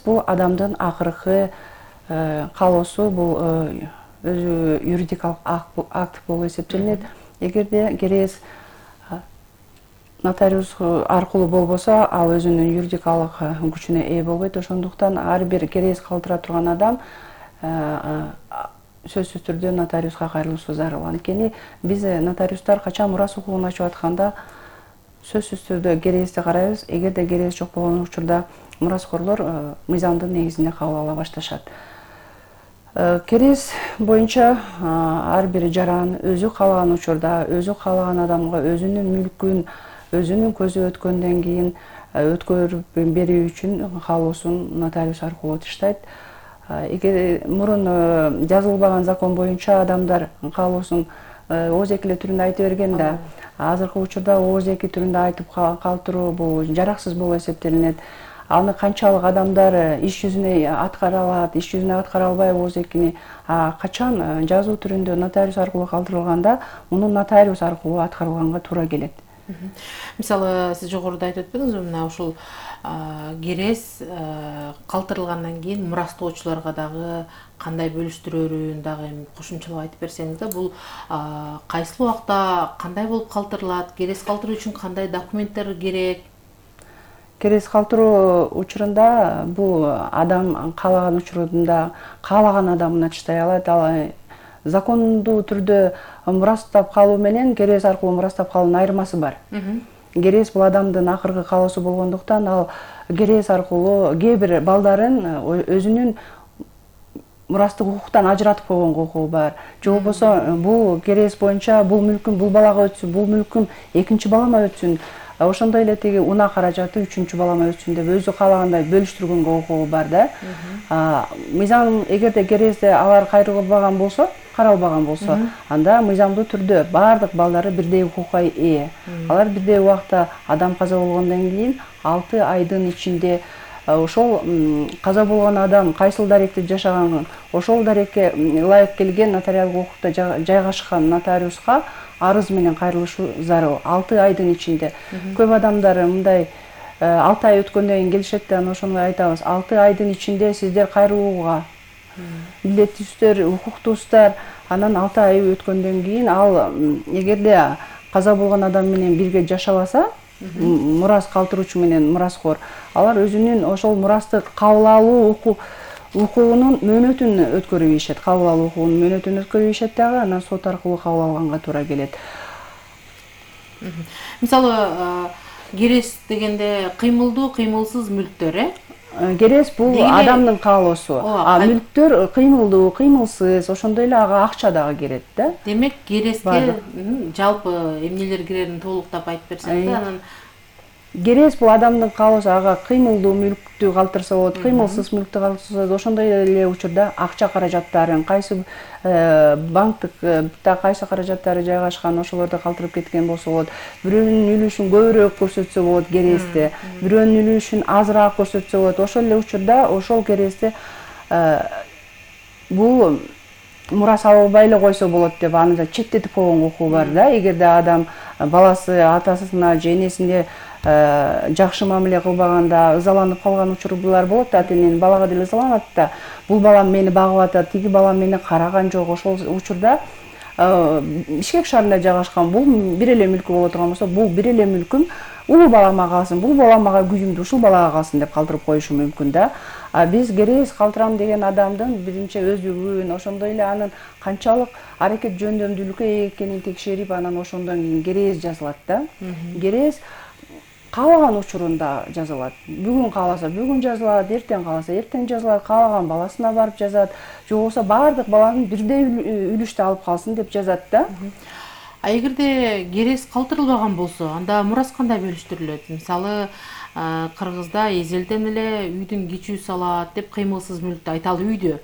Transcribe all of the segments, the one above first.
бул адамдын акыркы каалоосу, бул өзү юридикалык акт болуп эсептелинет. Эгерде керез нотариус аркылуу болбосо, ал өзүнүн юридикалык күчүнө ээ болбойт. Ошондуктан ар бир керез калтыра турган адам сөзсүз түрдө нотариуска кайрылышы зарыл. Анткени биз нотариустар качан мурас укугун ачып атканда сөзсүз түрдө керезди карайбыз. Эгерде керез жок болгон учурда мураскорлор мыйзамдын негизинде кабыл ала башташат. Керез боюнча ар бир жаран өзү каалаган учурда, өзү каалаган адамга өзүнүн мүлкүн өзүнүн көзү өткөндөн кийин өткөрүп берүү үчүн каалоосун нотариус аркылуу таштайт. Эгер мурун жазылбаган закон боюнча адамдар каалоосун ооз экиле түрүндө айтып берген да, азыркы учурда ооз эки түрүндө айтып калтыруу бул жараксыз болуп эсептелинет. Аны канчалык адамдар иш жүзүнө аткара алат, иш жүзүнө аткара албай ооз экини качан жазуу түрүндө нотариус аркылуу калтырылганда, муну нотариус аркылуу аткарылганга туура келет. Мисалы, сиз жогоруда айтып өтпөдүңүзбү, мына ушул керез калтырылгандан кийин мурастоочуларга дагы кандай бөлүштүрөрүн дагы кошумчалап айтып берсеңиз да, бул кайсы убакта кандай болуп калтырылат, керез калтыруу үчүн кандай документтер керек? Керез калтыруу учурунда бул адам каалаган учурунда каалаган адамына чыдай алат. Ал закондуу түрдө мурастап калуу менен керез аркылуу мурастап калуунун айырмасы бар. Керез бул адамдын акыркы каалоосу болгондуктан, ал керез аркылуу кээ бир балдарын өзүнүн мурастык укуктан ажыратып койгонго укугу бар. Же болбосо бул керез боюнча бул мүлкүм бул балага өтсүн, бул мүлкүм экинчи балама өтсүн, ошондой эле тиги унаа каражаты үчүнчү балама өтсүн деп өзү каалагандай бөлүштүргөнгө укугу бар да. Мыйзам эгерде керезде алар кайрылбаган болсо, каралбаган болсо, анда мыйзамдуу түрдө баардык балдары бирдей укукка ээ. Алар бирдей убакта адам каза болгондон кийин 6 айдын ичинде ошол каза болгон адам кайсыл даректе жашаганын, ошол дарекке ылайык келген нотариалдык укукта жайгашкан нотариуска арыз менен кайрылышы зарыл 6 айдын ичинде. Көп адамдар мындай 6 ай өткөндөн кийин келишет да, ошону айтабыз. 6 айдын ичинде сиздер кайрылууга милдеттүүсүздөр, укуктуусуздар. Анан 6 ай өткөндөн кийин ал эгерде каза болгон адам менен бирге жашабаса, мурас калтыруучу менен мураскор, алар өзүнүн ошол мурасты кабыл алуу укугунун мөөнөтүн өткөрүп ийишет. Кабыл алуу укугунун мөөнөтүн өткөрүп ийишет дагы, анан сот аркылуу кабыл алганга туура келет. Мисалы, керез дегенде кыймылдуу, кыймылсыз мүлктөр, Керез бул адамдын каалоосу. Мүлктөр кыймылдуу, кыймылсыз, ошондой эле ага акча дагы кирет да. Демек, керезге жалпы эмнелер кирерин толуктап айтып берсеңиз да, анан керез бул адамдын каалоосу, ага кыймылдуу мүлктү калтырса болот, кыймылсыз мүлктү калтырса болот. Ошондой эле учурда акча каражаттарын, кайсы банктыкта кайсы каражаттары жайгашкан, ошолорду калтырып кеткен болсо болот. Бирөөнүн үлүшүн көбүрөөк көрсөтсө болот керезде, бирөөнүн үлүшүн азыраак көрсөтсө болот. Ошол эле учурда ошол керезде бул мурас албай эле койсо болот деп аны четтетип койгонго укугу бар да. Эгерде адам баласы атасына же энесине жакшы мамиле кылбаганда ызаланып калган учурлар болот да, ата-эненин балага деле ызаланат да. Бул балам мени багып атат, тиги балам мени караган жок. Ошол учурда Бишкек шаарында жайгашкан бул бир эле мүлкү боло турган болсо, бул бир эле мүлкүм улуу балама калсын, бул балам ага күйүмдүү, ушул балага калсын деп калтырып коюшу мүмкүн да. Биз керез калтырам деген адамдын биринчи өздүгүн, ошондой эле анын канчалык аракет жөндөмдүүлүккө экенин текшерип, анан ошондон кийин керез жазылат да. Керез каалаган учурунда жазылат. Бүгүн кааласа бүгүн жазылат, эртең кааласа эртең жазылат, каалаган баласына барып жазат, же болбосо баардык баланын бирдей үлүштү алып калсын деп жазат да. А эгерде керез калтырылбаган болсо, анда мурас кандай бөлүштүрүлөт? Мисалы, Кыргызда эзелден эле үйдүн кичүү салат деп кыймылсыз мүлктү айталы үйдө.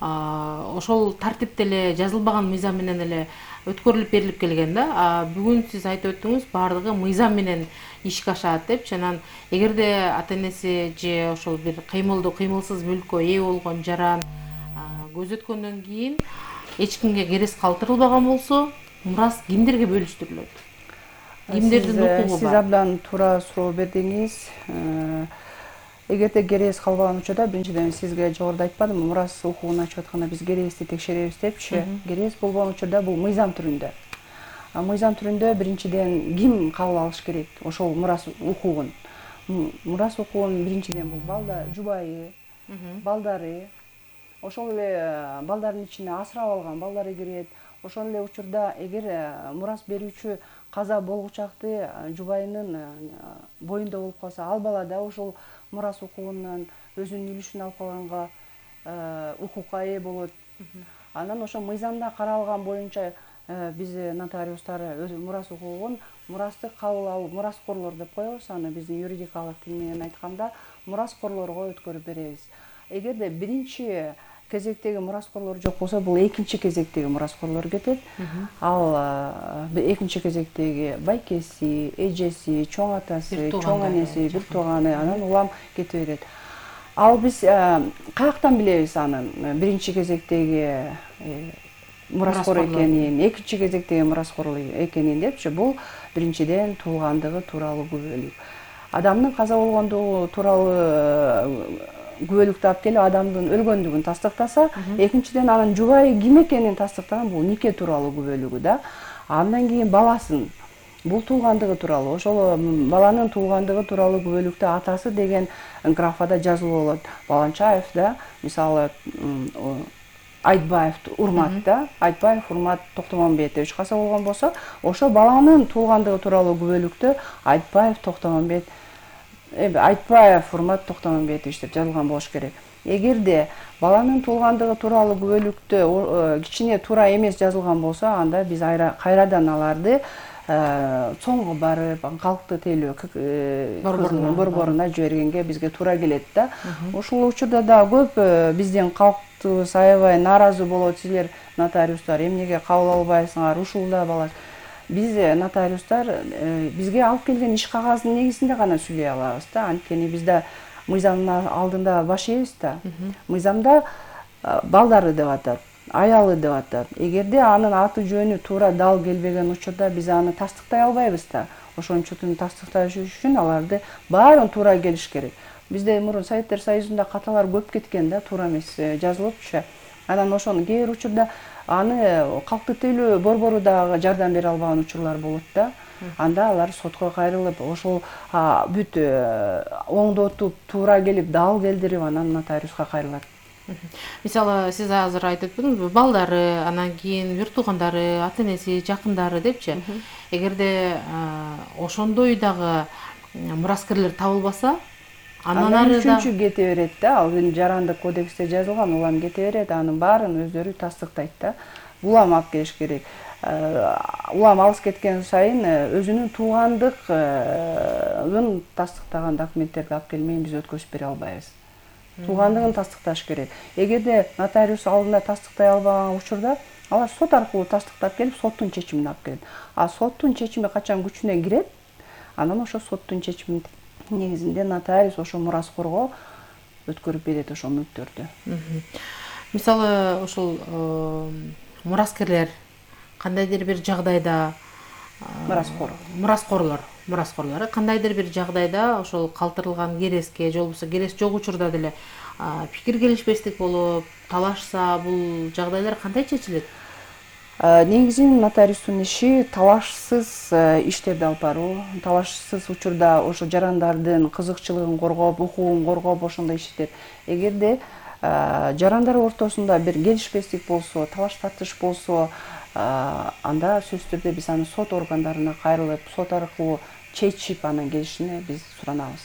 Ошол тартипте эле жазылбаган мыйзам менен эле өткөрүлүп берилип келген да. Бүгүн сиз айтып өттүңүз, баардыгы мыйзам менен ишке ашат депчи. Анан эгерде ата-энеси же ошол бир кыймылдуу, кыймылсыз мүлккө ээ болгон жаран көз өткөндөн кийин эч кимге керез калтырылбаган болсо, мурас кимдерге бөлүштүрүлөт? Кимдердин укугу бар? Сиз абдан туура суроо бердиңиз. эгерде керээс калбаган учурда биринчиден сизге жогоруда айтпадымбы, мурас укугун ачып атканда биз керээсти текшеребиз депчи. Керээс болгон учурда бул мыйзам түрүндө. Мыйзам түрүндө биринчиден ким кабыл алыш керек ошол мурас укугун? Мурас укугун биринчиден бул жубайы, балдары, ошол эле балдардын ичине асырап алган балдары кирет. Ошол эле учурда эгер мурас берүүчү каза болгучакты жубайынын боюнда болуп калса, ал бала да ошол мурас укугунан өзүнүн үлүшүн алып калганга укукка ээ болот. Анан ошо мыйзамда каралган боюнча биз нотариустар мурас укугун мурастык кабыл алуу, мураскорлор деп коебуз аны биздин юридикалык тил менен айтканда, мураскорлорго өткөрүп беребиз. Эгерде биринчи кезектеги мураскорлор жок болсо, бул экинчи кезектеги мураскорлор кетет. Ал экинчи кезектеги байкеси, эжеси, чоң атасы, чоң энеси, бир тууганы, анан улам кете берет. Ал биз каяктан билебиз анын биринчи кезектеги мураскор экенин, экинчи кезектеги мураскор экенин депчи? Бул биринчиден туулгандыгы тууралуу күбөлүк. Адамдын каза болгондугу тууралуу күбөлүктү алып келип, адамдын өлгөндүгүн тастыктаса, экинчиден анын жубайы ким экенин тастыктаган, бул нике тууралуу күбөлүгү да. Андан кийин баласын, бул туулгандыгы тууралуу, ошол баланын туулгандыгы тууралуу күбөлүктө атасы деген графада жазылуу болот. Баланчаев да, мисалы Айтбаев Урмат да, Айтбаев Урмат Токтомонбетович каза болгон болсо, ошо баланын туулгандыгы тууралуу күбөлүктө Айтбаев Урмат Токтомонбетович деп жазылган болуш керек. Эгерде баланын туулгандыгы тууралуу күбөлүктө кичине туура эмес жазылган болсо, анда биз кайрадан аларды цоңго барып, калктуу тейлөө борборуна жибергенге бизге туура келет да. Ошол учурда да көп бизден калктуу аябай нааразы болот, силер нотариустар эмнеге кабыл албайсыңар, ушул да баласы. Биз нотариустар бизге алып келген иш кагазынын негизинде гана сүйлөй алабыз да. Анткени бизде мыйзамдын алдында баш ийбиз да. Мыйзамда балдары деп атат, аялы деп атат. Эгерде анын аты жөнү туура дал келбеген учурда биз аны тастыктай албайбыз да. Ошончо тастыкташ үчүн аларды баарын туура келиш керек. Бизде мурун Советтер Союзунда каталар көп кеткен да, туура эмес жазылыпчы. Анан ошону кээ бир учурда аны калктуу тейлөө борбору дагы жардам бере албаган учурлар болот да. Анда алар сотко кайрылып, ошол бүт оңдотуп, туура келип, дал келдирип, анан нотариуска кайрылат. Мисалы, сиз азыр айтып өттүңүзбү, балдары, анан кийин бир туугандары, ата энеси, жакындары депчи. Эгерде ошондой дагы мураскерлер табылбаса, анан ары да үчүнчү кете берет да. Ал жарандык кодексте жазылган, улам кете берет, анын баарын өздөрү тастыктайт да. Улам алып келиш керек. Улам алыс кеткен сайын өзүнүн туугандыгын тастыктаган документтерди алып келмейин биз өткөрүп бере албайбыз. Туугандыгын тастыкташ керек. Эгерде нотариус алдында тастыктай албаган учурда, алар сот аркылуу тастыктап келип, соттун чечимин алып келет. А соттун чечими качан күчүнө кирет, анан ошо соттун чечиминин негизинде нотариус ошо мураскорго өткөрүп берет ошол мүлктөрдү. Мисалы, ошол мураскерлер кандайдыр бир жагдайда мураскорлор кандайдыр бир жагдайда ошол калтырылган кереске же болбосо керес жок учурда деле пикир келишпестик болуп талашса, бул жагдайлар кандай чечилет? Негизинен нотариустун иши талашсыз иштерди алып баруу, талашсыз учурда ошо жарандардын кызыкчылыгын коргоп, укугун коргоп ошондой иштер. Эгерде жарандар ортосунда бир келишпестик болсо, талаш тартыш болсо, анда сөзсүз түрдө биз аны сот органдарына кайрылып, сот аркылуу чечип анан келишини биз суранабыз.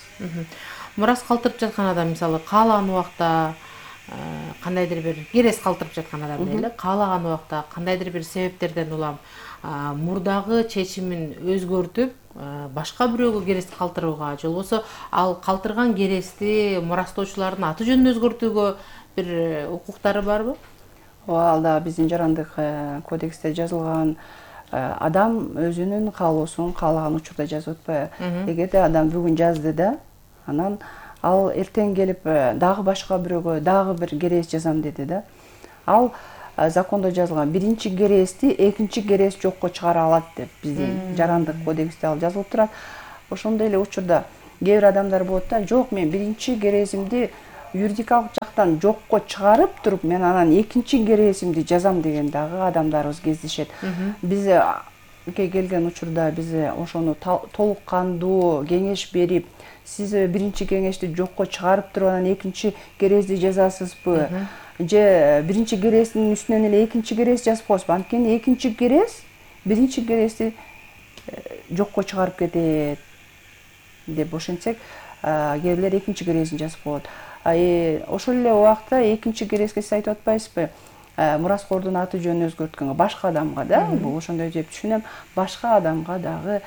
Мурас калтырып жаткан адам, мисалы, каалаган убакта кандайдыр бир керес калтырып жаткан адам дейли, каалаган убакта кандайдыр бир себептерден улам мурдагы чечимин өзгөртүп, башка бирөөгө керести калтырууга, же болбосо ал калтырган керести мурастоочулардын аты жөнүн өзгөртүүгө бир укуктары барбы? Ал да биздин жарандык кодексте жазылган, адам өзүнүн каалоосун каалаган учурда жазып атпайбы? Эгерде адам бүгүн жазды да, анан ал эртең келип дагы башка бирөөгө дагы бир керес жазам деди да. Ал закондо жазылган биринчи керести экинчи керес жокко чыгара алат деп биздин жарандык кодексте ал жазылып турат. Ошондой эле учурда кээ бир адамдар болот да, жок мен биринчи керезимди юридикалык жактан жокко чыгарып туруп мен анан экинчи керезимди жазам деген дагы адамдарыбыз кездешет. Биз келген учурда биз ошону толук кандуу кеңеш берип, сиз биринчи кеңешти жокко чыгарып туруп анан экинчи керезди жазасызбы же биринчи керездин үстүнөн эле экинчи керез жазып коесузбу? Анткени экинчи керез биринчи керезди жокко чыгарып кетет деп ошентсек, кээ бирлер экинчи керезин жазып коет. Ошол эле убакта экинчи керезге сиз айтып атпайсызбы? Мураскордун аты жөнүн өзгөрткөнгө, башка адамга да, бул ошондой деп түшүнөм, башка адамга дагы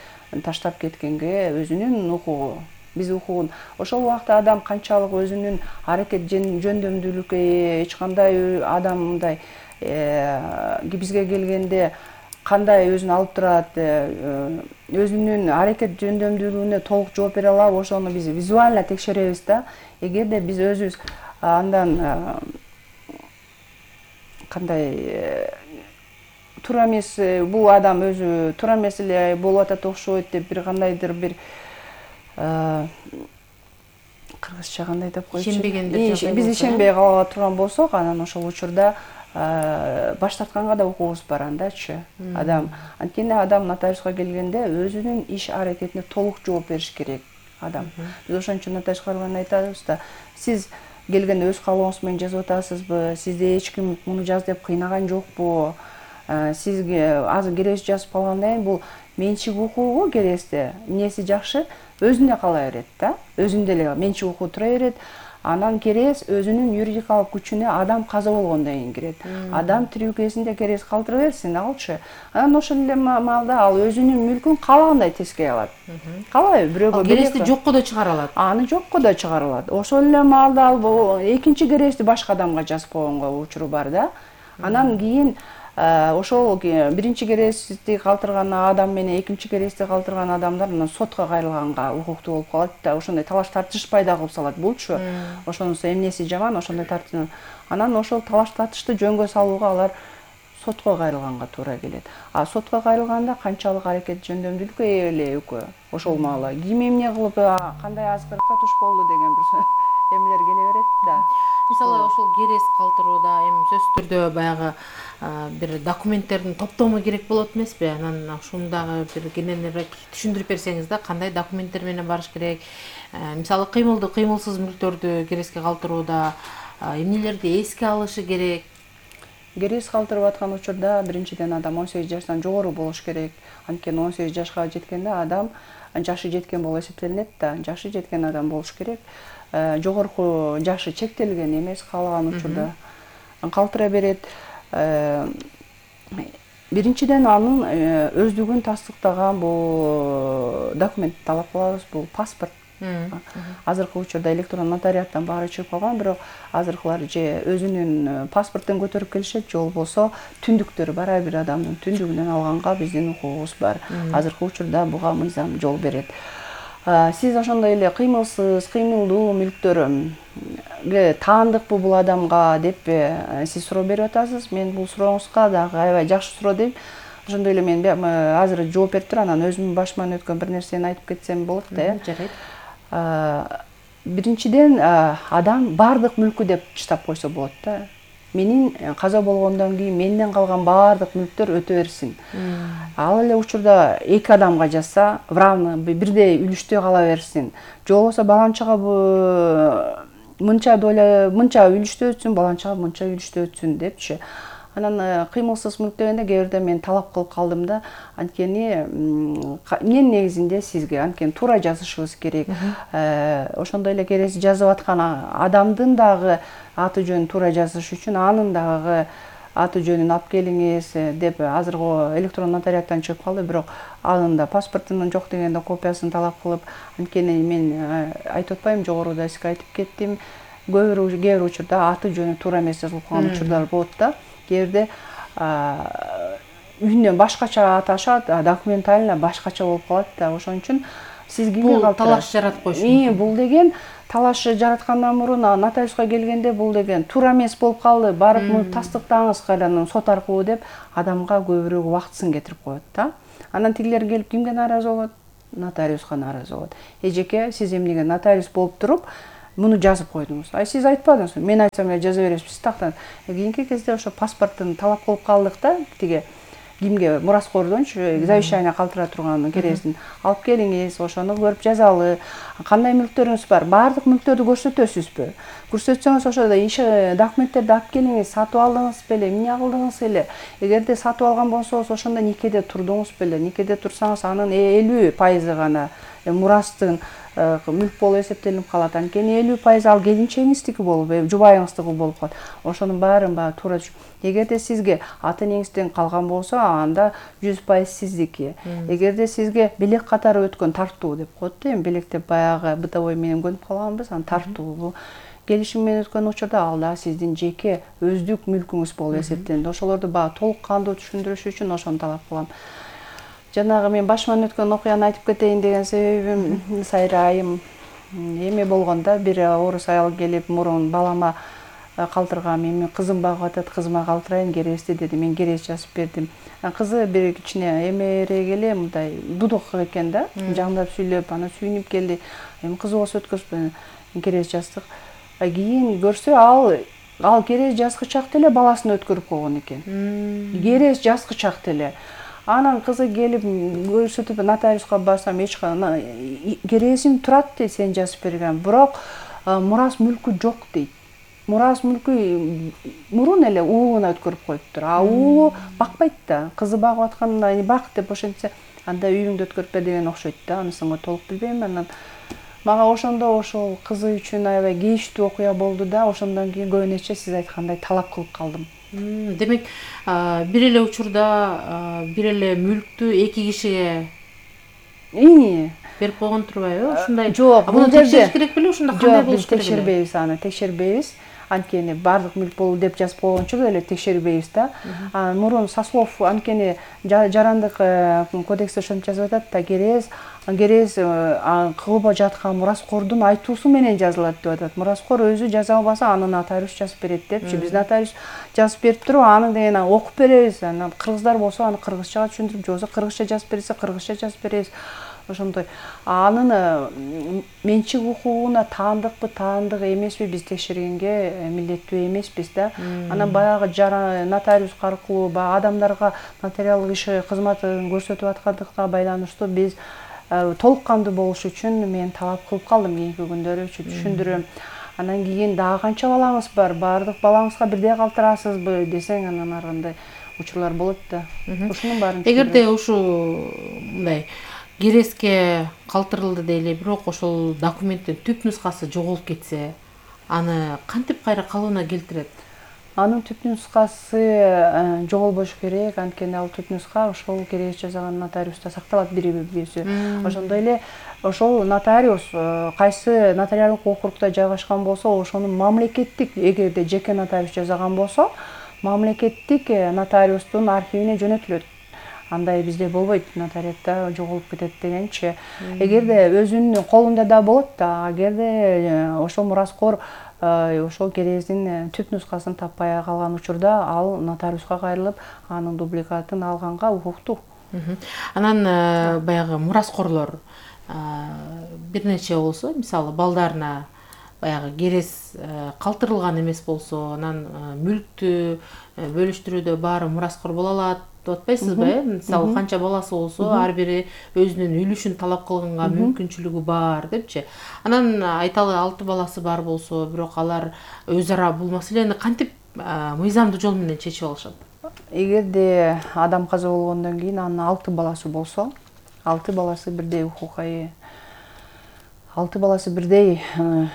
таштап кеткенге өзүнүн укугу, биз укугун. Ошол убакта адам канчалык өзүнүн аракет жөндөмдүүлүккө эч кандай адам мындай бизге келгенде кандай өзүн алып турат, өзүнүн аракет жөндөмдүүлүгүнө толук жооп бере алабы, ошону биз визуально текшеребиз да. Эгерде биз өзүбүз андан кандай туура эмес, бул адам өзү туура эмес эле болуп атат окшойт деп бир кандайдыр бир кыргызча кандай деп койчу, биз ишенбей кала турган болсок, анан ошол учурда баш тартканга да укугубуз бар андачы. Адам анткени адам нотариуска келгенде өзүнүн иш аракетине толук жооп бериш керек адам. Биз ошон үчүн нотариуска барганда айтабыз да, сиз келгенде өз каалооңуз менен жазып атасызбы, сизди эч ким муну жаз деп кыйнаган жокпу, сизге азыр керез жазып калгандан кийин бул менчик укугу керезде эмнеси жакшы, өзүнө кала берет да, өзүндө эле менчик укугу тура берет. Анан керез өзүнүн юридикалык күчүнө адам каза болгондон кийин кирет. Адам тирүү кезинде керез калтыра берсин алчы. Анан ошол эле маалда ал өзүнүн мүлкүн каалагандай тескей алат. Каалайбы? Бирөөгө керезди жокко да чыгара алат. Аны жокко да чыгара алат. Ошол эле маалда ал экинчи керезди башка адамга жазып койгонго учуру бар да. Анан кийин ошол биринчи керезди калтырган адам менен экинчи керезди калтырган адамдар анан сотко кайрылганга укуктуу болуп калат да. Ошондой талаш тартыш пайда кылып салат булчу. Ошонусу эмнеси жаман, ошондой тартыш. Анан ошол талаш тартышты жөнгө салууга алар сотко кайрылганга туура келет. Сотко кайрылганда канчалык аракет жөндөмдүүлүккө ээ эле экөө ошол маала ким эмне кылып кандай азгырыкка туш болду деген бир эмелер келе берет да. Мисалы ошол керез калтырууда эми сөзсүз түрдө баягы бир документтердин топтому керек болот эмеспи? Анан ушуну дагы бир кененирээк түшүндүрүп берсеңиз да, кандай документтер менен барыш керек? Мисалы кыймылдуу, кыймылсыз мүлктөрдү керезге калтырууда эмнелерди эске алышы керек? Керез калтырып аткан учурда биринчиден адам 18 жаштан жогору болуш керек. Анткени 18 жашка жеткенде адам жашы жеткен болуп эсептелинет да, жашы жеткен адам болуш керек. Жогорку жашы чектелген эмес, каалаган учурда калтыра берет. Биринчиден анын өздүгүн тастыктаган бул документ талап кылабыз, бул паспорт. Азыркы учурда электрон нотариаттан баары чыгып калган, бирок азыркылар же өзүнүн паспортун көтөрүп келишет, же болбосо түндүктөр бар, ар бир адамдын түндүгүнөн алганга биздин укугубуз бар. Азыркы учурда буга мыйзам жол берет. Сиз ошондой эле кыймылсыз, кыймылдуу мүлктөргө таандыкпы бул адамга деп сиз суроо берип атасыз. Мен бул сурооңузга дагы аябай жакшы суроо дейм. Ошондой эле мен азыр жооп берип туруп, анан өзүмдүн башыман өткөн бир нерсени айтып кетсем болот да. Жарайт. Биринчиден адам баардык мүлкү деп чытап койсо болот да. Менин каза болгондон кийин менден калган баардык мүлктөр өтө берсин. Ал эле учурда эки адамга жазса, равно бирдей үлүштө кала берсин. Же болбосо баланчага мынча доля, мынча үлүштө өтсүн, баланчага мынча үлүштө өтсүн депчи. Анан кыймылсыз мүлк дегенде кээ бирде мен талап кылып калдым да. Анткени эмненин негизинде сизге анткени туура жазышыбыз керек. Ошондой эле керез жазып аткан адамдын дагы аты жөнүн туура жазыш үчүн анын дагы аты жөнүн алып келиңиз деп азыркы электрон нотариаттан чыгып калды, бирок анын да паспортунун жок дегенде копиясын талап кылып, анткени мен айтып атпаймынбы, жогоруда сизге айтып кеттим, кээ бир учурда аты жөнү туура эмес жазылып калган учурлар болот да. Кээ бирде үйүнөн башкача аташат, документально башкача болуп калат да. Ошон үчүн сиз кимге калтырасыз? Талаш жаратып коюш. Бул деген талаш жараткандан мурун нотариуска келгенде бул деген туура эмес болуп калды, барып муну тастыктаңыз кайрадан сот аркылуу деп адамга көбүрөөк убактысын кетирип коет да. Анан тигилер келип кимге нааразы болот? нотариуска нааразы болот. Эжеке, сиз эмнеге нотариус болуп туруп муну жазып койдуңуз? Сиз айтпадыңызбы? Мен айтсам эле жаза бересиз, сиз тактан. Кийинки кезде ошо паспорттун талап кылып калдык да, тиги кимге мураскордончу завещание калтыра турган кересин алып келиңиз, ошону көрүп жазалы. Кандай мүлктөрүңүз бар? Баардык мүлктөрдү көрсөтөсүзбү? Көрсөтсөңүз ошодо документтерди алып келиңиз, сатып алдыңыз беле, эмне кылдыңыз эле? Эгерде сатып алган болсоңуз, ошондо никеде турдуңуз беле? Никеде турсаңыз, анын 50% гана мурастын мүлк болуп эсептелип калат. Анткени 50% ал келинчегиңиздики болуп, жубайыңыздыкы болуп калат. Ошонун баарын туура. Эгерде сизге ата энеңизден калган болсо, анда 100% сиздики. Эгерде сизге белек катары өткөн тартуу деп коет да, белек деп баягы бытовой менен көнүп калганбыз, анан тартуу бул келишим менен өткөн учурда ал да сиздин жеке өздүк мүлкүңүз болуп эсептелинет. Ошолорду толук кандуу түшүндүрүш үчүн ошону талап кылам. Жанагы мен башыман өткөн окуяны айтып кетейин деген себебим, Сайра айым эме болгондо бир орус аял келип, мурун балама калтыргам, эми кызым багып атат, кызыма калтырайын керести деди. Мен керес жазып бердим. Кызы бир кичине эмерээк эле, мындай дудук экен да, жамдап сүйлөп, анан сүйүнүп келди. Эми кызы болсо өткөзбөйм, керес жаздык. Кийин көрсө ал керес жазгычак деле баласын өткөрүп койгон экен. Керес жазгычак деле. Анан кызы келип көрсөтүп, нотариуска барсам, эч кересим турат дейт, сен жазып берген. Бирок мурас мүлкү жок дейт. Мурас мүлкү мурун эле уулуна өткөрүп коюптур. Уулу бакпайт да. Кызы багып атканда бак деп ошентсе, анда үйүңдү өткөрүп бер деген окшойт да. Анысын толук билбейм. Анан мага ошондо ошол кызы үчүн аябай кейиштүү окуя болду да. Ошондон кийин көбү нече сиз айткандай талап кылып калдым. Демек, бир эле учурда бир эле мүлктү эки кишиге берип койгон турбайбы? Ушундай. Жок, муну текшериш керек беле? Ушунда кандай болуш керек? Текшербейбиз аны, текшербейбиз. Анткени баардык мүлк болуу деп жазып койгончу эле текшербейбиз да. Мурун сослов анткени жарандык кодексте ошентип жазып атат да, керес кылып жаткан мураскордун айтуусу менен жазылат деп атат. Мураскор өзү жаза албаса, аны нотариус жазып берет депчи. Биз нотариус жазып берип туруп, аны деген окуп беребиз. Анан кыргыздар болсо аны кыргызчага түшүндүрүп, же болбосо кыргызча жазып берсе, кыргызча жазып беребиз. Ошондой. Анын менчик укугуна таандыкпы, таандык эмеспи биз текшергенге милдеттүү эмеспиз да. Анан баягы нотариус аркылуу адамдарга нотариалдык иш кызматын көрсөтүп аткандыкка байланыштуу биз толук кандуу болуш үчүн мен талап кылып калдым кийинки күндөрү түшүндүрөм. Анан кийин дагы канча балаңыз бар? Баардык балаңызга бирдей калтырасызбы десең, анан ар кандай учурлар болот да. Ушунун баарын. Эгерде ушул мындай кереске калтырылды дейли, бирок ошол документтин түп нускасы жоголуп кетсе, аны кантип кайра калыбына келтирет? Анын түп нускасы жоголбош керек, анткени ал түп нуска ошол керес жазган нотариуста сакталат бир-бирибизди. Ошондой эле ошол нотариус кайсы нотариалдык округда жайгашкан болсо, ошонун мамлекеттик, эгерде жеке нотариус жасаган болсо, мамлекеттик нотариустун архивине жөнөтүлөт. Андай бизде болбойт, нотариатта жоголуп кетет дегенчи. Эгерде өзүнүн колунда да болот да, эгерде ошол мураскор ошол керестин түп нускасын таппай калган учурда, ал нотариуска кайрылып, анын дубликатын алганга укуктуу. Анан баягы мураскорлор бир нече болсо, мисалы балдарына баягы керес калтырылган эмес болсо, анан мүлктү бөлүштүрүүдө баары мураскор боло алат деп атпайсызбы? Мисалы канча баласы болсо, ар бири өзүнүн үлүшүн талап кылганга мүмкүнчүлүгү бар депчи. Анан айталы 6 баласы бар болсо, бирок алар өз ара бул маселени кантип мыйзамдуу жол менен чечип алышат? Эгерде адам каза болгондон кийин анын 6 баласы болсо, 6 баласы бирдей укукка ээ. 6 баласы бирдей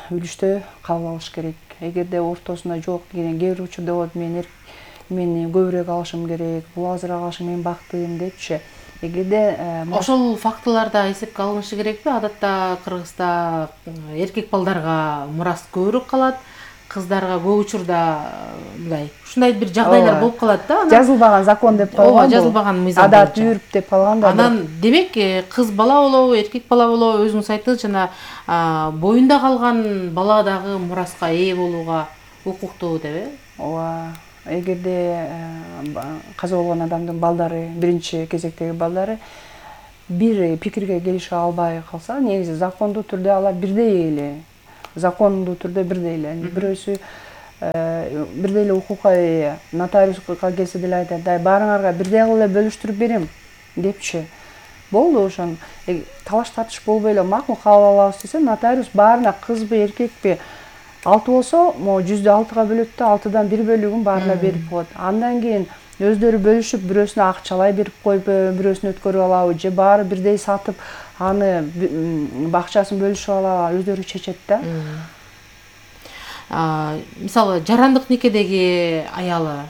үлүштө кабыл алыш керек. Эгерде ортосунда жок деген кээ бир учурда болот, мен көбүрөөк алышым керек, бул азыраак алышым, мен бактым депчи. Эгерде ошол фактыларда эсепке алынышы керекпи? Адатта Кыргызда эркек балдарга мурас көбүрөөк калат, кыздарга көп учурда мындай ушундай бир жагдайлар болуп калат да. Жазылбаган закон деп коюлган. Ооба, жазылбаган мыйзам. Адат үрп деп калган да. Анан демек кыз бала болобу, эркек бала болобу, өзүңүз айттыңыз жана боюнда калган бала дагы мураска ээ болууга укуктуу деп, Ооба. Эгерде каза болгон адамдын балдары, биринчи кезектеги балдары бир пикирге келише албай калса, негизи закондуу түрдө алар бирдей эле. Закондуу түрдө бирдей эле. Бирөөсү бирдей эле укукка ээ. Нотариуска келсе деле айтат, баарыңарга бирдей кылып эле бөлүштүрүп берем депчи. Болду, ошон талаш тартыш болбой эле макул кабыл алабыз десе, нотариус баарына кызбы, эркекпи 6 болсо, могу 100/6 бөлөт да, 6дан 1 бөлүгүн баарына берип коет. Андан кийин өздөрү бөлүшүп, бирөөсүнө акчалай берип коюп, бирөөсүнө өткөрүп алабы же баары бирдей сатып, аны акчасын бөлүшүп алабы, өздөрү чечет да. Мисалы, жарандык никедеги аялы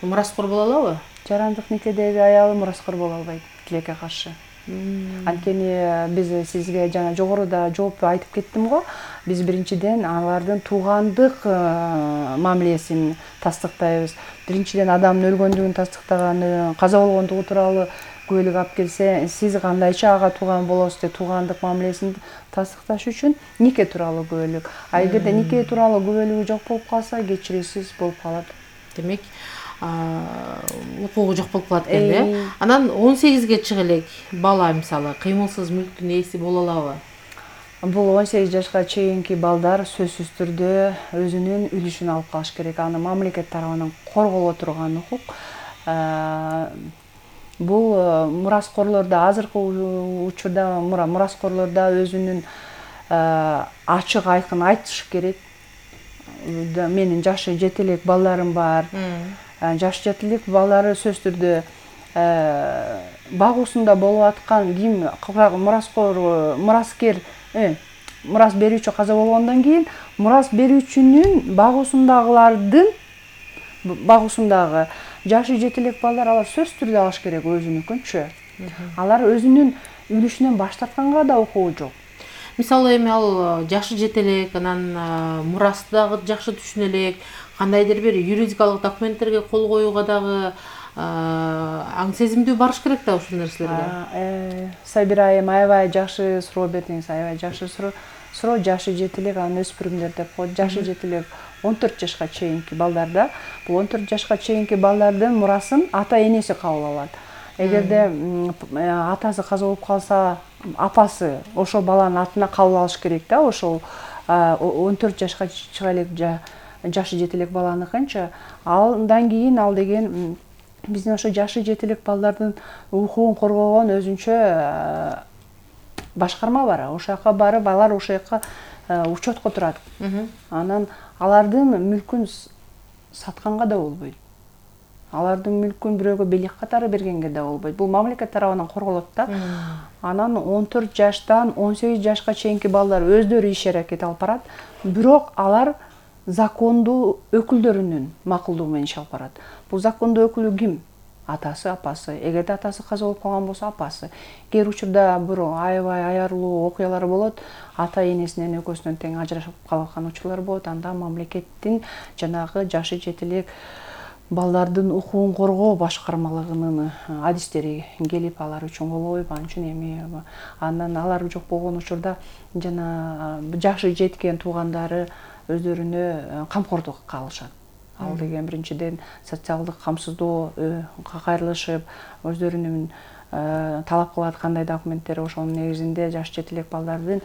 мураскор боло алабы? Жарандык никедеги аялы мураскор боло албайт тилекке каршы. Анткени биз сизге жана жогоруда жооп айтып кеттим го. Биз биринчиден алардын туугандык мамилесин тастыктайбыз. Биринчиден адамдын өлгөндүгүн тастыктаганы, каза болгондугу тууралуу күбөлүк алып келсе, сиз кандайча ага тууган болосуз деп туугандык мамилесин тастыкташ үчүн нике тууралуу күбөлүк. А эгерде нике тууралуу күбөлүгү жок болуп калса, кечирүүсүз болуп калат. Демек, укугу жок болуп калат экен да. Анан 18ге чыга элек бала мисалы кыймылсыз мүлктүн ээси боло алабы? Бул 18 жашка чейинки балдар сөзсүз түрдө өзүнүн үлүшүн алып калыш керек. Аны мамлекет тарабынан корголо турган укук. Бул мураскорлордо азыркы учурда мураскорлордо өзүнүн ачык айкын айтыш керек. Менин жашы жете элек балдарым бар. Жашы жете элек балдары сөзсүз түрдө багуусунда болуп аткан ким мураскер мурас берүүчү каза болгондон кийин мурас берүүчүнүн багуусундагы жашы жете элек балдар алар сөзсүз түрдө алыш керек өзүнүкүнчү. Алар өзүнүн үлүшүнөн баш тартканга да укугу жок. Мисалы эми ал жашы жете элек, анан мурасты дагы жакшы түшүнө элек, кандайдыр бир юридикалык документтерге кол коюуга дагы аң сезимдүү барыш керек да ушул нерселерге. Сайбирайым аябай жакшы суроо бердиңиз, аябай жакшы суроо. Жашы жете элек, анан өспүрүмдөр деп коет. Жашы жете элек 14 жашка чейинки балдарда. Бул 14 жашка чейинки балдардын мурасын ата энеси кабыл алат. Эгерде атасы каза болуп калса, апасы ошол баланын атына кабыл алыш керек да, ошол 14 жашка чыга элек жашы жете элек баланыкынчы. Андан кийин ал деген биздин ошо жашы жете элек балдардын укугун коргогон өзүнчө башкарма бар. Ошол жака барып, алар ошол жака учетко турат. Анан алардын мүлкүн сатканга да болбойт. Алардын мүлкүн бирөөгө белек катары бергенге да болбойт. Бул мамлекет тарабынан корголот да. Анан 14 жаштан 18 жашка чейинки балдар өздөрү иш аракет алып барат. Бирок алар закондуу өкүлдөрүнүн макулдугу менен иш алып барат. Бул закондуу өкүлү ким? Атасы, апасы. Эгерде атасы каза болуп калган болсо, апасы. Кээ учурда бир аябай аярлуу окуялар болот. Ата энесинен экөөсүнөн тең ажырашып калган учурлар болот. Анда мамлекеттин жанагы жашы жете элек балдардын укугун коргоо башкармалыгынын адистери келип алар үчүн кол коюп, ал үчүн эми андан алар жок болгон учурда жана жашы жеткен туугандары өздөрүнө камкордукка алышат. Ал деген биринчиден социалдык камсыздоого кайрылышып, өздөрүнүн талап кылат кандай документтер, ошонун негизинде жашы жете элек балдардын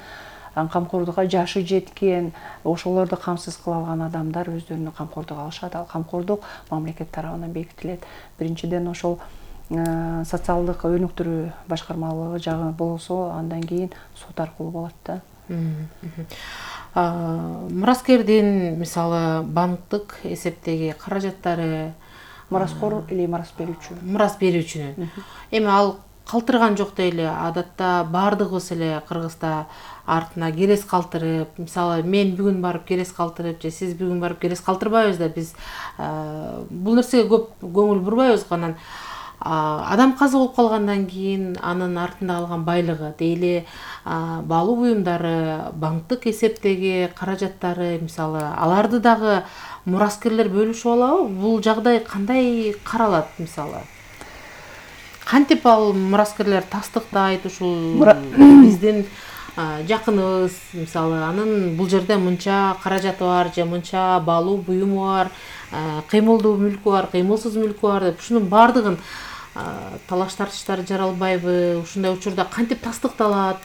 камкордукка жашы жеткен, ошолорду камсыз кыла алган адамдар өздөрүнө камкордук алышат. Ал камкордук мамлекет тарабынан бекитилет. Биринчиден ошол социалдык өнүктүрүү башкармалыгы жагы болсо, андан кийин сот аркылуу болот да. Мураскердин мисалы банктык эсептеги каражаттары, Мураскор или мурас берүүчү? Мурас берүүчүнүн. Эми ал калтырган жок дейли. Адатта баардыгыбыз эле Кыргызда артына керес калтырып, мисалы мен бүгүн барып керес калтырып, же сиз бүгүн барып керес калтырбайбыз да, биз бул нерсеге көп көңүл бурбайбыз. Анан адам каза болуп калгандан кийин анын артында калган байлыгы, дейли баалуу буюмдары, банктык эсептеги каражаттары, мисалы аларды дагы мураскерлер бөлүшүп алабы? Бул жагдай кандай каралат мисалы? Кантип ал мураскерлер тастыктайт ушул биздин жакыныбыз, мисалы анын бул жерде мынча каражаты бар, же мынча баалуу буюму бар, кыймылдуу мүлкү бар, кыймылсыз мүлкү бар деп ушунун баардыгын талаш тартыштар жаралбайбы? Ушундай учурда кантип тастыкталат?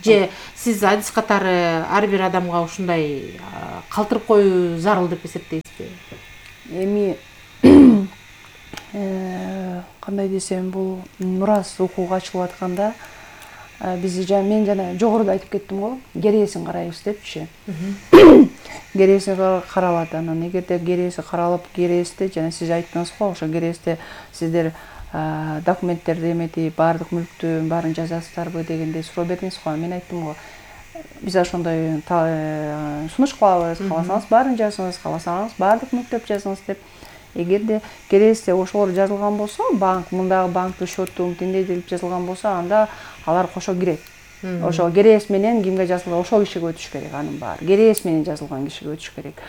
Же сиз адис катары ар бир адамга ушундай калтырып коюу зарыл деп эсептейсизби? Эми кандай десем, бул мурас укугу ачылып атканда биз мен жана жогоруда айтып кеттим го, керээсин карайбыз депчи. Керээси каралат. Анан эгерде керээси каралып, керээсте жана сиз айттыңыз го, ошо керээсте сиздер документтерди эметип, баардык мүлктүн баарын жазасыздарбы дегенде суроо бердиңиз го. Мен айттым го, биз ошондой сунуш кылабыз, кааласаңыз баарын жазыңыз, кааласаңыз баардык мүлктөп жазыңыз деп. Эгерде керээсте ошолор жазылган болсо, банк мындагы банктын счету тиндей деп жазылган болсо, анда алар кошо кирет. Ошо керээс менен кимге жазылган, ошол кишиге өтүш керек, анын баары керээс менен жазылган кишиге өтүш керек.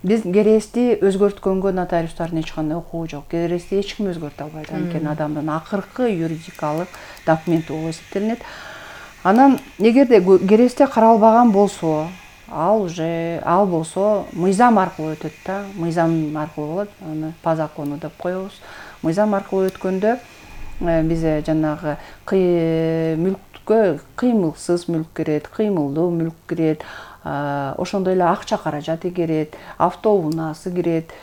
Биз керээсти өзгөрткөнгө нотариустардын эч кандай укугу жок. Керээсти эч ким өзгөртө албайт. Анткени адамдын акыркы юридикалык документи болуп эсептелинет. Анан эгерде керээсте каралбаган болсо, ал болсо мыйзам аркылуу өтөт да. Мыйзам аркылуу болот. Аны по закону деп коебуз. Мыйзам аркылуу өткөндө биз жанагы мүлккө кыймылсыз мүлк кирет, кыймылдуу мүлк кирет, ошондой эле акча каражаты кирет, автоунаасы кирет.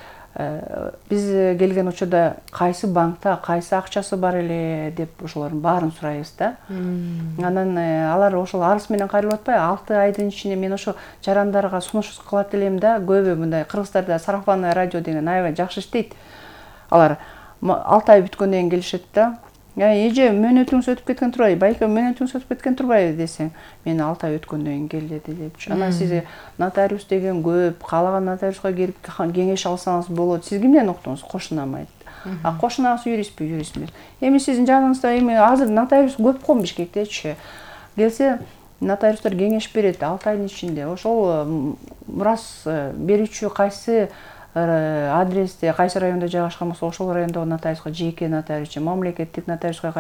Биз келген учурда кайсы банкта кайсы акчасы бар эле деп ошолордун баарын сурайбыз да. Анан алар ошол арыз менен кайрылып атпайбы? 6 айдын ичинде мен ошо жарандарга сунуш кылат элем да. Көбү мындай кыргыздарда сарафанный радио деген аябай жакшы иштейт. Алар 6 ай бүткөндөн кийин келишет да. Эже мөөнөтүңүз өтүп кеткен турбайбы? Байке мөөнөтүңүз өтүп кеткен турбайбы десең, мен 6 ай өткөндөн кийин келди депчи. Анан сизге нотариус деген көп, каалаган нотариуска келип кеңеш алсаңыз болот. Сиз кимден уктуңуз? Кошунам айтты. Кошунаңыз юристпи? Юрист эмес. Эми сиздин жаныңызда эми азыр нотариус көп го Бишкектечи. Келсе нотариустар кеңеш берет 6 айдын ичинде. Ошол мурас берүүчү кайсы адресте, кайсы районда жайгашкан болсо, ошол райондогу нотариуска, жеке нотариус же мамлекеттик нотариуска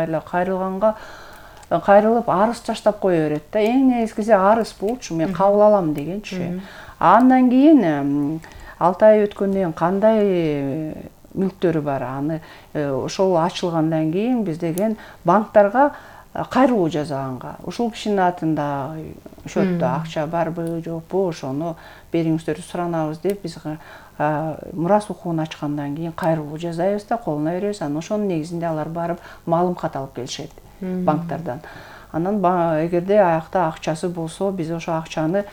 кайрылып арыз таштап кое берет да. Эң негизгиси арыз болчу, мен кабыл алам дегенчи. Андан кийин 6 ай өткөндөн кийин кандай мүлктөрү бар, аны ошол ачылгандан кийин биз деген банктарга кайрылуу жасаганга, ушул кишинин атында счетто акча барбы, жокпу, ошону бериңиздер суранабыз деп биз мурас укугун ачкандан кийин кайрылуу жасайбыз да, колуна беребиз. Анан ошонун негизинде алар барып маалым кат алып келишет банктардан. Анан эгерде аякта акчасы болсо, биз ошол акчаны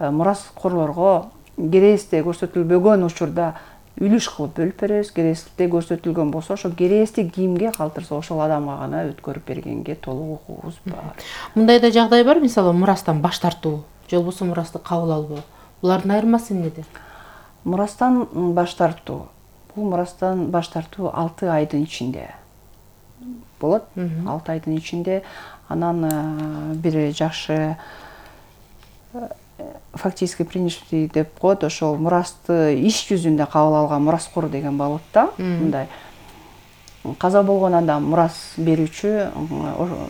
мураскорлорго керээсте көрсөтүлбөгөн учурда үлүш кылып бөлүп беребиз. Керээсте көрсөтүлгөн болсо, ошо керээсти кимге калтырса ошол адамга гана өткөрүп бергенге толук укугубуз бар. Мындай да жагдай бар, мисалы мурастан баш тартуу, же болбосо мурасты кабыл албоо. Булардын айырмасы эмнеде? Мурастан баш тартуу. Бул мурастан баш тартуу 6 айдын ичинде болот. 6 айдын ичинде. Анан бир жакшы фактически принятие деп коет. Ошол мурасты иш жүзүндө кабыл алган мураскор деген болот да. Мындай каза болгон адам мурас берүүчү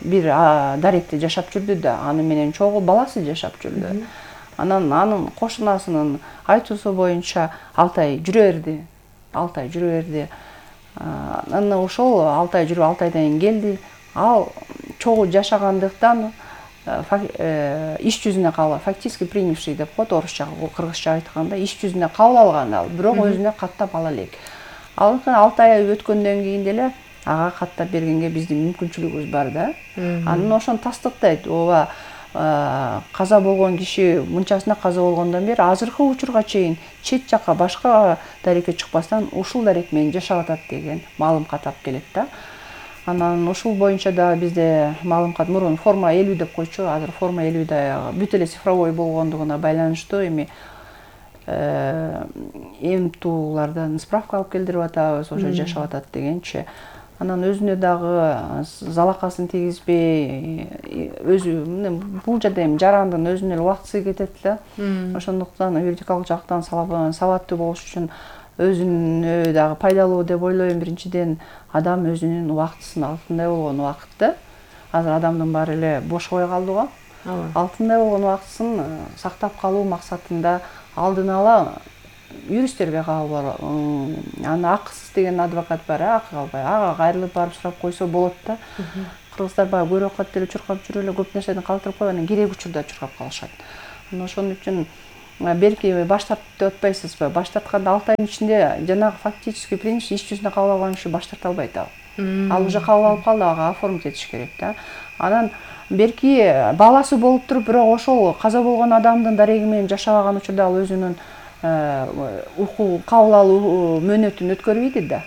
бир даректе жашап жүрдү да, аны менен чогуу баласы жашап жүрдү. Анан анын кошунасынын айтуусу боюнча 6 ай жүрө берди. 6 ай жүрө берди. Анан ошол 6 ай жүрүп 6 айдан кийин келди. Ал чогуу жашагандыктан иш жүзүнө кабыл, фактически принявший деп коет орусча, кыргызча айтканда иш жүзүнө кабыл алган ал, бирок өзүнө каттап ала элек. Ал 6 ай өткөндөн кийин деле ага каттап бергенге биздин мүмкүнчүлүгүбүз бар да. Анан ошону тастыктайт. Ооба, каза болгон киши мынчасына каза болгондон бери азыркы учурга чейин чет жакка башка дарекке чыкпастан ушул дарек менен жашап атат деген маалым кат алып келет да. Анан ушул боюнча да бизде маалым кат мурун форма 50 деп койчу, азыр форма 50 да бүт эле цифровой болгондугуна байланыштуу эми МТУлардан справка алып келдирип атабыз, ошо жашап атат дегенчи. Анан өзүнө дагы залакасын тийгизбей, өзү бул жерде эми жарандын өзүнө эле убактысы кетет да. Ошондуктан юридикалык жактан сабаттуу болуш үчүн өзүнө дагы пайдалуу деп ойлойм. Биринчиден адам өзүнүн убактысын алтындай болгон убакытты, азыр адамдын баары эле бошобой калды го. Алтындай болгон убактысын сактап калуу максатында алдын ала юристтерге кабыл бар. Анан Аксыз деген адвокат бар, акы калбай. Ага кайрылып барып сурап койсо болот да. Кыргыздар баягы көрүп калат деле чуркап жүрүп эле көп нерседен калтырып коюп, анан керек учурда чуркап калышат. Анан ошон үчүн белки баш тартып деп атпайсызбы? Баш тартканда 6 айдын ичинде жанагы фактический принцип иш жүзүндө кабыл алган киши баш тарта албайт ал. Ал уже кабыл алып калды, ага оформить этиш керек да. Анан белки баласы болуп туруп, бирок ошол каза болгон адамдын дареги менен жашабаган учурда ал өзүнүн кабыл алуу мөөнөтүн өткөрбөйт да.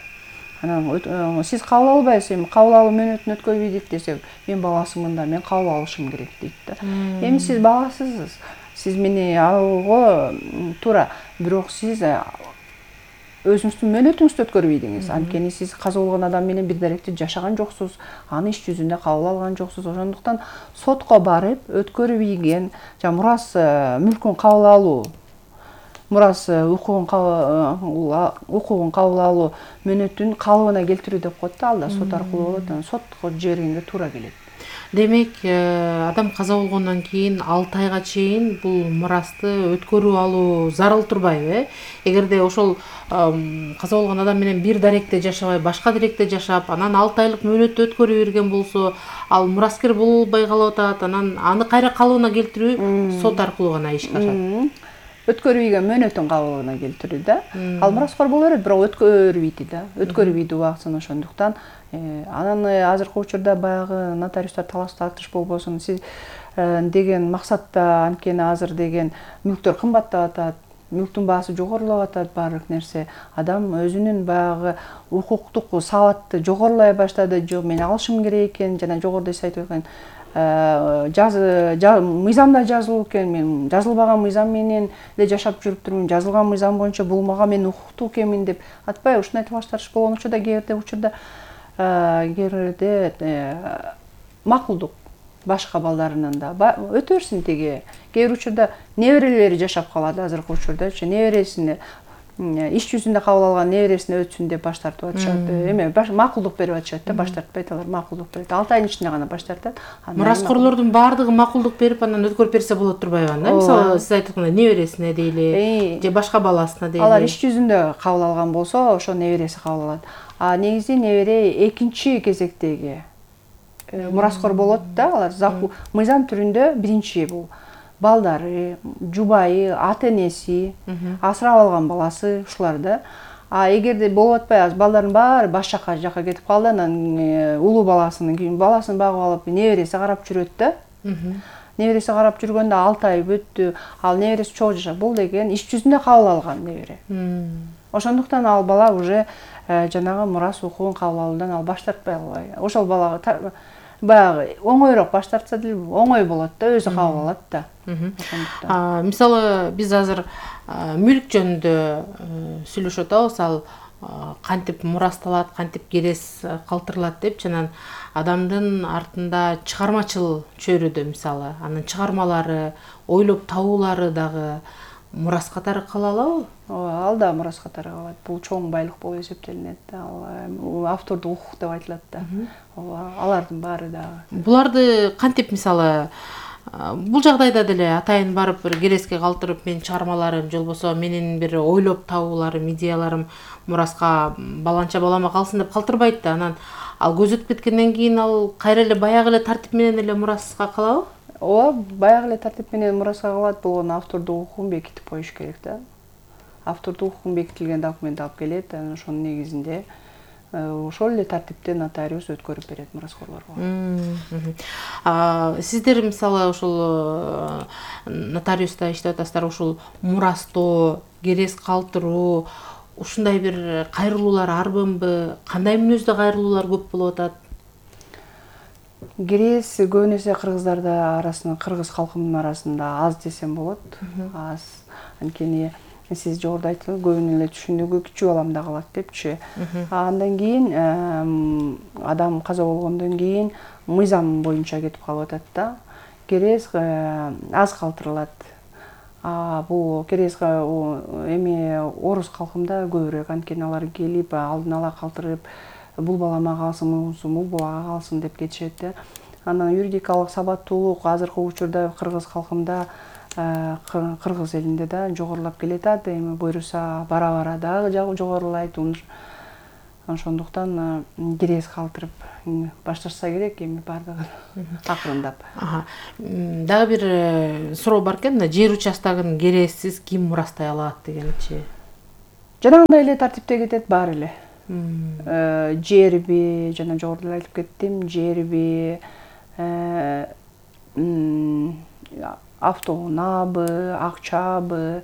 Анан сиз кабыл албайсыз, эми кабыл алуу мөөнөтүн өткөрбөйт десек, мен баласымын да, мен кабыл алышым керек дейт да. Эми сиз баласысыз. Сиз мени алууга туура, бирок сиз өзүңүздүн мөөнөтүңүздү өткөрбөйдүңүз. Анткени сиз каза болгон адам менен бир даректе жашаган жоксуз, аны иш жүзүндө кабыл алган жоксуз. Ошондуктан сотко барып өткөрбөйген мурас мүлкүн кабыл алуу, мурас укугун кабыл алуу мөөнөтүн калыбына келтирүү деп коет да, ал да сот аркылуу болот. Анан сотко жибергенге туура келет. Демек, адам каза болгондон кийин 6 айга чейин бул мурасты өткөрүп алуу зарыл турбайбы? Эгерде ошол каза болгон адам менен бир даректе жашабай, башка даректе жашап, анан 6 айлык мөөнөттү өткөрүп берген болсо, ал мураскер боло албай калып атат, анан аны кайра калыбына келтирүү сот аркылуу гана ишке ашат. Өткөрбөйгөн мөөнөтүн кабылына келтирүү да. Ал мураскор боло берет, бирок өткөрбөйт да. Өткөрбөйт убактысын. Ошондуктан анан азыркы учурда баягы нотариустар талаш тартыш болбосун, сиз деген максатта, анткени азыр деген мүлктөр кымбаттап атат, мүлктүн баасы жогорулап атат, баардык нерсе. Адам өзүнүн баягы укуктук сабатты жогорулай баштады. Жок, мен алышым керек экен, жана жогоруда сиз айтып аткан мыйзамда жазылуу экен, мен жазылбаган мыйзам менен эле жашап жүрүп турмун, жазылган мыйзам боюнча бул мага мен укуктуу экенмин деп атпайбы? Ушундай талаш тартыш болгон учурда кээ бирде макулдук башка балдарынан да өтө берсин теге. Кээ бир учурда неберелери жашап калат, азыркы учурдачы небересине иш жүзүндө кабыл алган небересине өтсүн деп баш тартып атышат. Эме макулдук берип атышат да, баш тартпайт алар, макулдук берет. 6 айдын ичинде гана баш тартат. Мураскорлордун баардыгы макулдук берип, анан өткөрүп берсе болот турбайбы анда? Мисалы, сиз айткандай небересине дейли, же башка баласына дейли. Алар иш жүзүндө кабыл алган болсо, ошо небереси кабыл алат. А негизи небере экинчи кезектеги мураскор болот да, алар мыйзам түрүндө биринчи бул балдары, жубайы, ата-энеси, асырап алган баласы ушулар да. А эгерде болуп атпай, балдардын баары баш жака кетип калды, анан улуу баласын багып алып, небереси карап жүрөт да. Небереси карап жүргөндө 6 ай өттү, ал небереси чогуу жашап, бул деген иш жүзүндө кабыл алган небере. Ошондуктан ал бала уже жанагы мурас укугун кабыл алуудан ал баш тартпай албай. Ошол балага баягы оңойрок баш тартса деле оңой болот да, өзү кабыл алат да. Ошондуктан мисалы биз азыр мүлк жөнүндө сүйлөшүп атабыз, ал кантип мурасталат, кантип керес калтырылат деп, анан адамдын артында чыгармачыл чөйрөдө мисалы, анын чыгармалары, ойлоп табуулары дагы мурас катары кала алабы? Ал да мурас катары калат. Бул чоң байлык болуп эсептелинет да. Ал автордук укук деп айтылат да. Алардын баары дагы. Буларды кантип мисалы бул жагдайда деле атайын барып бир кереске калтырып, менин чыгармаларым же болбосо менин бир ойлоп табууларым, идеяларым мураска баланча балама калсын деп калтырбайт да. Анан ал көзөтүп кеткенден кийин ал кайра эле баягы эле тартип менен эле мураска калабы? Ооба, баягы эле тартип менен мураска калат. Бул автордук укугун бекитип коюш керек да. Автордук укугун бекитилген документ алып келет, анан ошонун негизинде ошол эле тартипте нотариус өткөрүп берет мураскорлорго. Сиздер мисалы ошол нотариуста иштеп атасыздар, ушул мурастоо, керес калтыруу, ушундай бир кайрылуулар арбынбы? Кандай мүнөздө кайрылуулар көп болуп атат? Керес көбүнесе кыргыздарда арасында, кыргыз калкынын арасында аз десем болот. Аз. Анткени сиз жогоруда айттыңыз, көбүнүн эле түшүндүгү кичүү баламда калат депчи. Андан кийин адам каза болгондон кийин мыйзам боюнча кетип калып атат да. Керес аз калтырылат. Бул керес эми орус калкында көбүрөөк, анткени алар келип алдын ала калтырып, бул балама калсын, бул балага калсын деп кетишет да. Анан юридикалык сабаттуулук азыркы учурда кыргыз калкында кыргыз элинде да жогорулап келатат. Эми буюрса бара дагы жогорулайт. Ошондуктан керез калтырып башташса керек эми бардыгын акырындап. Дагы бир суроо бар экен, мына жер участогун керезсиз ким мурастай алат дегенчи. Жанагындай эле тартипте кетет баары эле. Жерби, жана жогоруда айтып кеттим, жерби, автоунаабы, акчабы,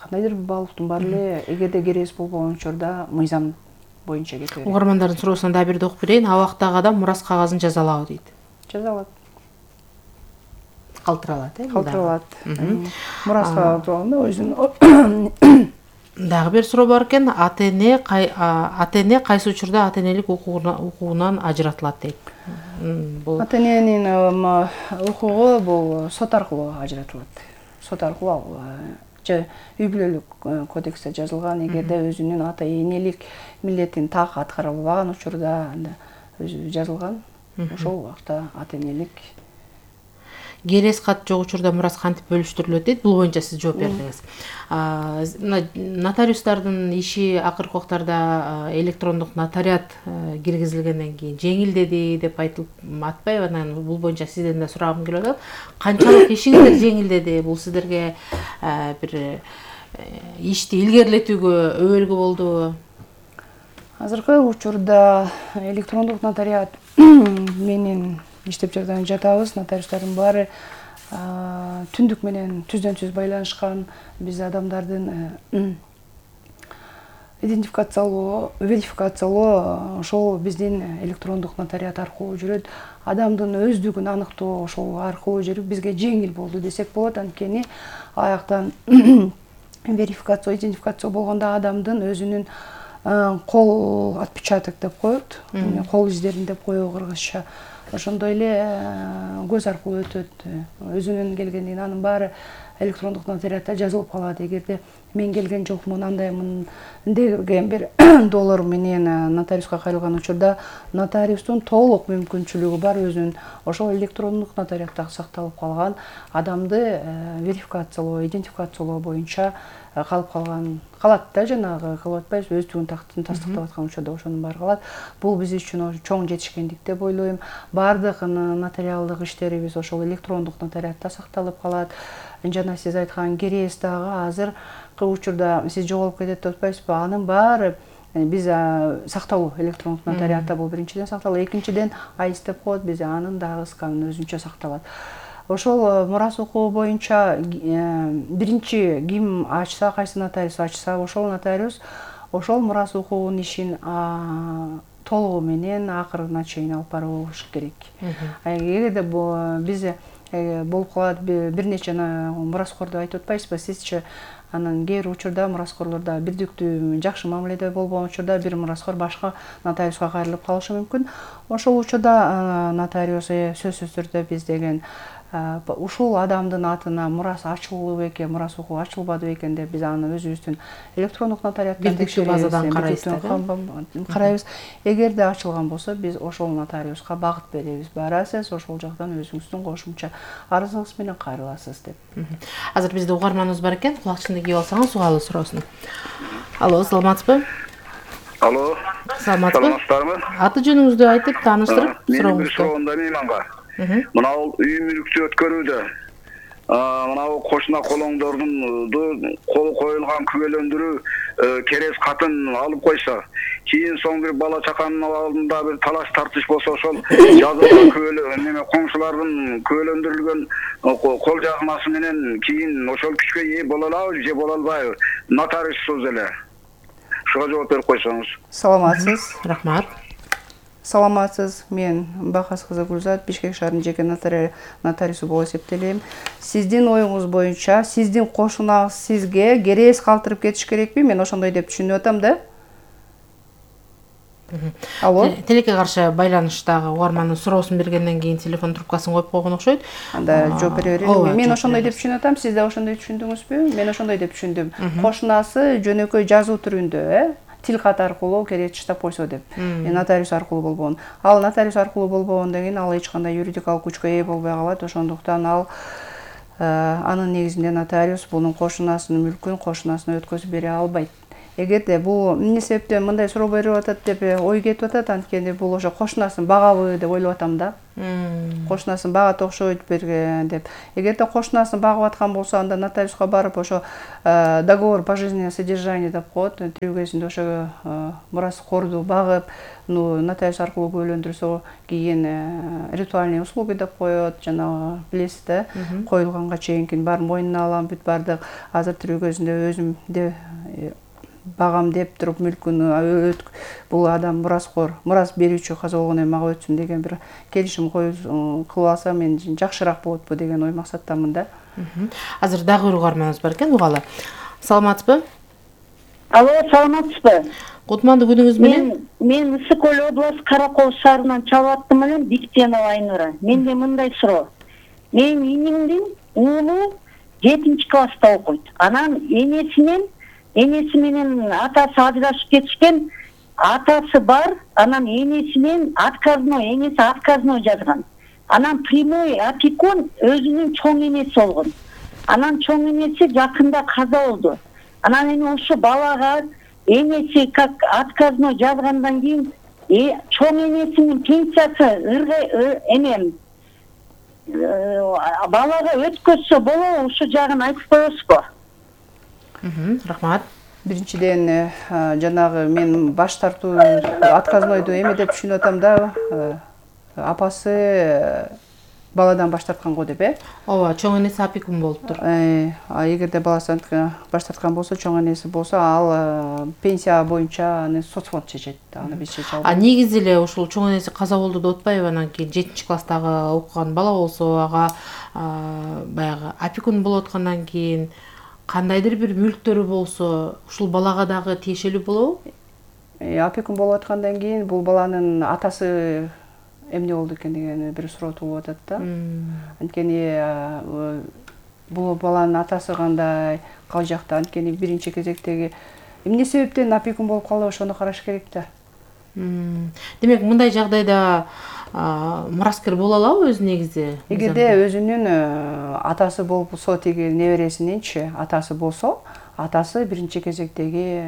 кандайдыр бир баалуулуктун баары эле эгерде керез болбогон учурда мыйзам боюнча кете берет. Угармандардын суроосуна дагы бирди окуп берейин. Абактагы адам мурас кагазын жазалабы дейт. Жазалат. Калтыра алат, Калтыра алат. Мураска турганда өзүнүн. Дагы бир суроо бар экен. АТН кайсы учурда АТНлик укугунан ажыратылат дейт. АТНнин укугу бул сот аркылуу ажыратылат. Сот аркылуу үй бүлөлүк кодексте жазылган, эгерде өзүнүн ата энелик милдетин так аткара албаган учурда өзү жазылган. Ошол убакта ата энелик. Керез кат жок учурда мурас кантип бөлүштүрүлөт дейт. Бул боюнча сиз жооп бердиңиз. Нотариустардын иши акыркы убактарда электрондук нотариат киргизилгенден кийин жеңилдеди деп атпайбы? Анан бул боюнча сизден да сурагым келип атат. Канчалык ишиңиздер жеңилдеди? Бул сиздерге бир ишти илгерилетүүгө өбөлгү болдубу? Азыркы учурда электрондук нотариат менен иштеп жатабыз. Нотариустардын баары түндүк менен түздөн түз байланышкан. Биз адамдардын идентификациялоо, верификациялоо ошол биздин электрондук нотариат аркылуу жүрөт. Адамдын өздүгүн аныктоо ошол аркылуу жүрүп бизге жеңил болду десек болот. Анткени аяктан верификация, идентификация болгондо адамдын өзүнүн кол отпечаток деп коет, кол издерин деп коебу кыргызча. Ошондой эле көз аркылуу өтөт. Өзүнүн келгендигин анын баары электрондук нотариатта жазылып калат. Эгерде мен келген жокмун, андаймын деген бир доллар менен нотариуска кайрылган учурда нотариустун толук мүмкүнчүлүгү бар өзүнүн ошол электрондук нотариатта сакталып калган адамды верификациялоо, идентификациялоо боюнча калат да, жанагы кылып атпайбыз, өздүгүн тастыктап аткан учурда ошонун баары калат. Бул биз үчүн чоң жетишкендик деп ойлойм. Бардык нотариалдык иштерибиз ошол электрондук нотариатта сакталып калат. Жана сиз айткан керез дагы азыркы учурда сиз жоголуп кетет деп атпайсызбы? Анын баары биз сакталуу электрондук нотариатта бул биринчиден сакталуу, экинчиден АИС деп коет, бизде анын дагы сканы өзүнчө сакталат. Ошол мурас укугу боюнча биринчи ким ачса, кайсы нотариус ачса, ошол нотариус ошол мурас укугунун ишин толугу менен акырына чейин алып барыш керек. Эгерде биз болуп калат бир нече мураскорду айтып атпайсызбы? Сизчи анан кээ бир учурда мураскорлордо бирдиктүү жакшы мамиледе болбогон учурда бир мураскор башка нотариуска кайрылып калышы мүмкүн. Ошол учурда нотариус сөзсүз түрдө биз деген ушул адамдын атына мурас ачылбы экен, мурас укугу ачылбады экен деп биз аны өзүбүздүн электрондук нотариаттан бирдиктүү базадан карайбыз. Эгерде ачылган болсо, биз ошол нотариуска багыт беребиз. Барасыз, ошол жактан өзүңүздүн кошумча арызыңыз менен кайрыласыз деп. Азыр бизде угарманыбыз бар экен, кулакчынды кийип алсаңыз сугалы суроосун. Алло, саламатсызбы? Алло. Саламатсыздарбы? Аты жөнүңүздү айтып, тааныштырып сурооңузду. Менин суроомда мейманга. Мына үй мүлүктү өткөрүүдө мына кошуна колоңдордун кол коюлган күбөлөндүрүү керез катын алып койсо, кийин соң бир бала чаканын алдында бир талаш тартыш болсо, ошол жазылган күбөлө коңшулардын күбөлөндүрүлгөн кол жазмасы менен кийин ошол күчкө ээ боло алабы же боло албайбы? Нотариуссуз эле. Ушуга жооп берип койсоңуз. Саламатсыз. Рахмат. Саламатсыз. Мен Бакас кызы Гүлзат, Бишкек шаарынын жеке нотариусу болуп эсептелем. Сиздин оюңуз боюнча сиздин кошунаңыз сизге керез калтырып кетиш керекпи? Мен ошондой деп түшүнүп атам да. Алло. Телекке каршы байланыштагы угармандын суроосун бергенден кийин телефон трубкасын коюп койгон окшойт. Анда жооп бере берейин. Мен ошондой деп түшүнүп атам. Сиз да ошондой түшүндүңүзбү? Мен ошондой деп түшүндүм. Кошунасы жөнөкөй жазуу түрүндө, тил кат аркылуу керез чыштап койсо деп. Нотариус аркылуу болбогон. Ал нотариус аркылуу болбогондон кийин ал эч кандай юридикалык күчкө ээ болбой калат. Ошондуктан ал Анын негизинде нотариус бунун кошунасынын мүлкүн кошунасына өткөзүп бере албайт. Эгерде бул эмне себептен мындай суроо берип атат деп ой кетип атат, анткени бул ошо кошунасын багабы деп ойлоп атам да. Кошунасын багат окшойт деп. Эгерде кошунасын багып аткан болсо, анда нотариуска барып ошо договор пожизненного содержания деп коет. Тирүү кезинде ошо мураскорду багып, нотариус аркылуу күбөлөндүрсө, кийин ритуальные услуги деп коет, жанагы билесиз да, коюлганга чейинкин баарын мойнуна алам, бүт баардык. Азыр тирүү кезинде өзүм багам деп туруп мүлкүн бул адам мурас берүүчү каза болгондон кийин мага өтсүн деген бир келишим кылып алса мен жакшыраак болотпу деген ой максаттамын да. Азыр дагы бир угарманыбыз бар экен, угалы. Саламатсызбы? Алло, саламатсызбы? Кутмандуу күнүңүз менен. Мен Ысык Көл областы Каракол шаарынан чалып аттым элем, Биктенова Айнура. Менде мындай суроо. Менин инимдин уулу 7-класста окуйт. Анан энеси менен атасы ажырашып кетишкен, атасы бар, анан энеси отказной жазган. Анан прямой опекун өзүнүн чоң энеси болгон. Анан чоң энеси жакында каза болду. Анан эми ошо балага энеси как отказной жазгандан кийин чоң энесинин пенсиясы балага өткөзсө болобу, ушул жагын айтып коесузбу? Рахмат. Биринчиден жанагы мен баш тартуу отказнойду эме деп түшүнүп атам да, апасы баладан баш тарткан го деп, Ооба, чоң энеси опекун болуптур. Эгерде баласы баш тарткан болсо, чоң энеси болсо, ал пенсия боюнча аны соцфонд чечет, аны биз чече албайбыз. Негизи эле ушул чоң энеси каза болду деп атпайбы, анан кийин 7-класстагы окуган бала болсо, ага баягы опекун болуп аткандан кийин кандайдыр бир мүлктөрү болсо, ушул балага дагы тиешелүү болобу? Опекун болуп аткандан кийин бул баланын атасы эмне болду экен деген бир суроо туулуп атат да. Анткени бул баланын атасы кандай, кал жакта, анткени биринчи кезектеги эмне себептен опекун болуп калды, ошону караш керек да. Демек, мындай жагдайда мураскер боло алабы өзү негизи? Эгерде өзүнүн атасы болсо, тиги небересининчи атасы болсо, атасы биринчи кезектеги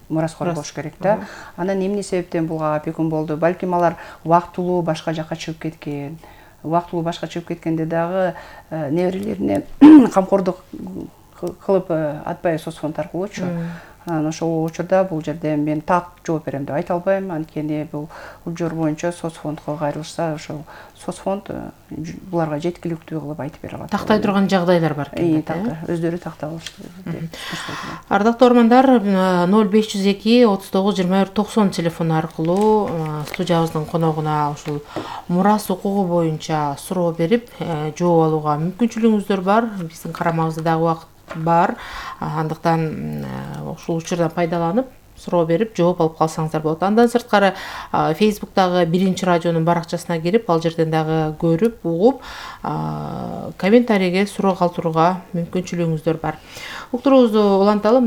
мураскор болуш керек да. Анан эмне себептен буга опекун болду? Балким алар убактылуу башка жакка чыгып кеткен. Убактылуу башка чыгып кеткенде дагы неберелерине камкордук кылып атпайбы соцфонд аркылуучу. Анан ошол учурда бул жерде мен так жооп берем деп айта албайм, анткени бул жор боюнча соцфондко кайрылышса, ошол соцфонд буларга жеткиликтүү кылып айтып бере алат. Тактай турган жагдайлар бар экен. Өздөрү тактап алышты. Ардактуу угармандар, 0502 39 21 90 телефону аркылуу студиябыздын коногуна ушул мурас укугу боюнча суроо берип, жооп алууга мүмкүнчүлүгүңүздөр бар. Биздин карамабызда дагы убакыт бар. Андыктан ушул учурдан пайдаланып суроо берип жооп алып калсаңыздар болот. Андан сырткары Facebook'тагы биринчи радионун баракчасына кирип, ал жерден дагы көрүп, угуп, комментарийге суроо калтырууга мүмкүнчүлүгүңүздөр бар. Уктуруубузду уланталы,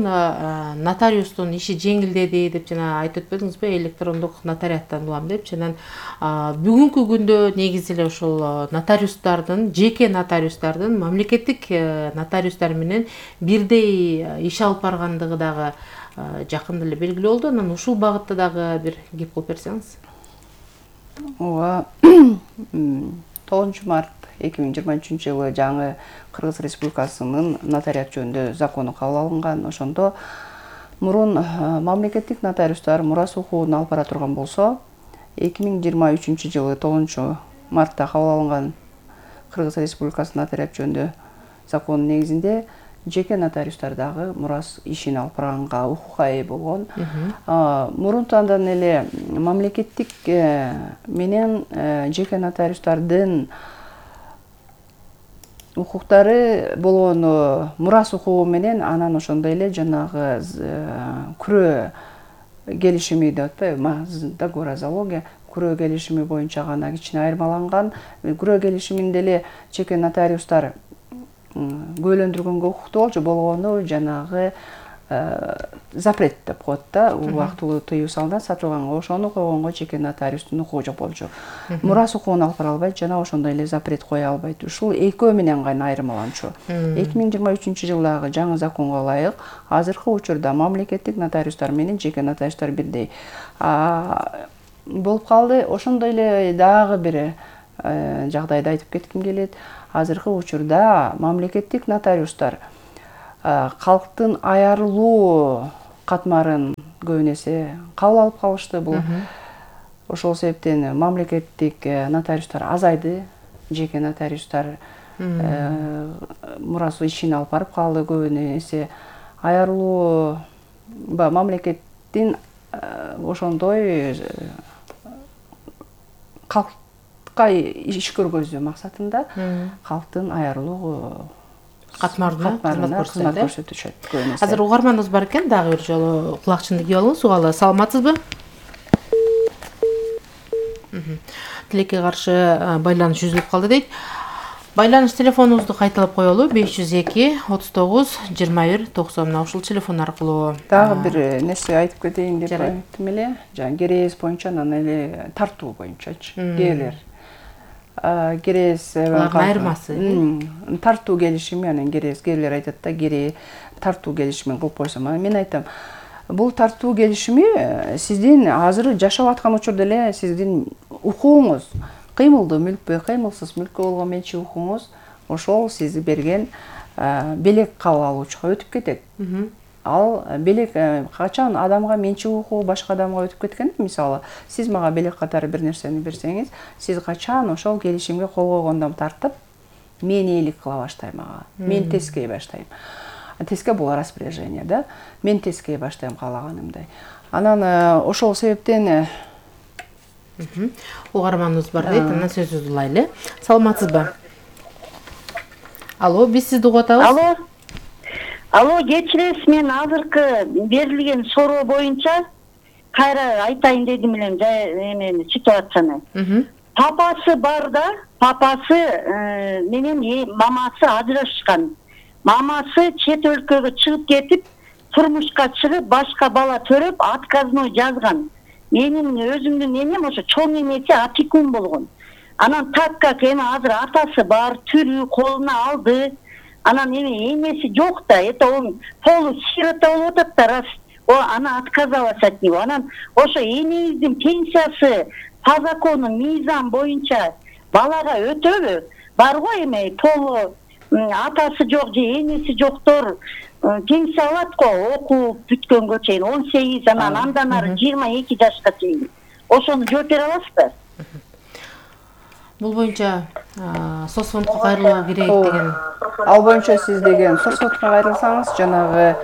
нотариустун иши жеңилдеди деп жана айтып өтпөдүңүзбү? Электрондук нотариаттан улам деп. Жанан бүгүнкү күндө негизи эле ушул нотариустардын, жеке нотариустардын мамлекеттик нотариустар менен бирдей иш алып баргандыгы дагы жакында эле белгилүү болду. Анан ушул багытта дагы бир кеп кылып берсеңиз. Ооба. 9 март 2023-жылы жаңы Кыргыз Республикасынын нотариат жөнүндө закону кабыл алынган. Ошондо мурун мамлекеттик нотариустар мурас укугун алып бара турган болсо, 2023-жылы 9 мартта кабыл алынган Кыргыз Республикасынын нотариат жөнүндө законунун негизинде жеке нотариустар дагы мурас ишин алып барганга укукка ээ болгон. Мурунтандан эле мамлекеттик менен жеке нотариустардын укуктары болгон мурас укугу менен анан ошондой эле жанагы күрөө келишими деп атпайбы, договор о залоге, күрөө келишими боюнча гана кичине айырмаланган. Күрөө келишиминде эле жеке нотариустар күбөлөндүргөнгө укуктуу болчу, болгону жанагы запрет деп коет да, убактылуу тыюу салынат сатылганга. Ошону койгонго жеке нотариустун укугу жок болчу. Мурас укугун алып бара албайт жана ошондой эле запрет кое албайт. Ушул экөө менен гана айырмаланчу. 2023-жылдагы жаңы законго ылайык азыркы учурда мамлекеттик нотариустар менен жеке нотариустар бирдей болуп калды. Ошондой эле дагы бир жагдайды айтып кетким келет. Азыркы учурда мамлекеттик нотариустар калктын аярылуу катмарын көбүн эсе кабыл алып калышты. Бул ошол себептен мамлекеттик нотариустар азайды, жеке нотариустар мурас ишин алып барып калды. Көбүн эсе аярылуу мамлекеттин ошондой калкка иш көргөзүү максатында калктын аярылуу катмарына кызмат көрсөтүшөт. Азыр угарманыбыз бар экен, дагы бир жолу кулакчынды кийип алыңыз. Угалы, саламатсызбы? Тилекке каршы байланыш үзүлүп калды дейт. Байланыш телефонубузду кайталап коелу: 502 39 21 90. Мына ушул телефон аркылуу. Дагы бир нерсе айтып кетейин деп айттым эле. Жана керез боюнча, анан эле тартуу боюнчачы. Кээлер керез айырмасы. Тартуу келишими, анан кээлер айтат да, тартуу келишимин кылып койсом. Мен айтам, бул тартуу келишими сиздин азыр жашап аткан учурда эле сиздин укугуңуз, кыймылдуу мүлкпү, кыймылсыз мүлккө болгон менчик укугуңуз ошол сиз берген белек кабыл алуучуга өтүп кетет. Ал белек качан адамга менчик укугу башка адамга өтүп кеткен, мисалы, сиз мага белек катары бир нерсени берсеңиз, сиз качан ошол келишимге кол койгондон тартып мен ээлик кыла баштайм ага. Мен тескей баштайм. Теске бул распоряжение, да? Мен тескей баштайм каалаганымдай. Анан ошол себептен угарманыбыз бар дейт, анан сөзүбүздү улайлы. Саламатсызбы? Алло, биз сизди угуп атабыз. Алло, кечиресиз, мен азыркы берилген суроо боюнча кайра айтайын дедим элем эмени ситуацияны. Папасы бар да, папасы менен мамасы ажырашкан. Мамасы чет өлкөгө чыгып кетип, турмушка чыгып, башка бала төрөп, отказной жазган. Менин өзүмдүн энем ошо чоң энеси опекун болгон. Анан так как эми азыр атасы бар, тирүү, колуна алды. Анан эми энеси жок да, это он полусирота болуп атат да, раз аны отказалась от него. Анан ошо энебиздин пенсиясы по закону мыйзам боюнча балага өтөбү? Бар го эми полу атасы жок же энеси жоктор пенсия алат го, окуп бүткөнгө чейин 18, анан андан ары 22 жашка чейин. Ошону жооп бере аласызбы? Бул боюнча соцфондко кайрылуу керек деген. Ал боюнча сиз деген соцфондко кайрылсаңыз, жанагы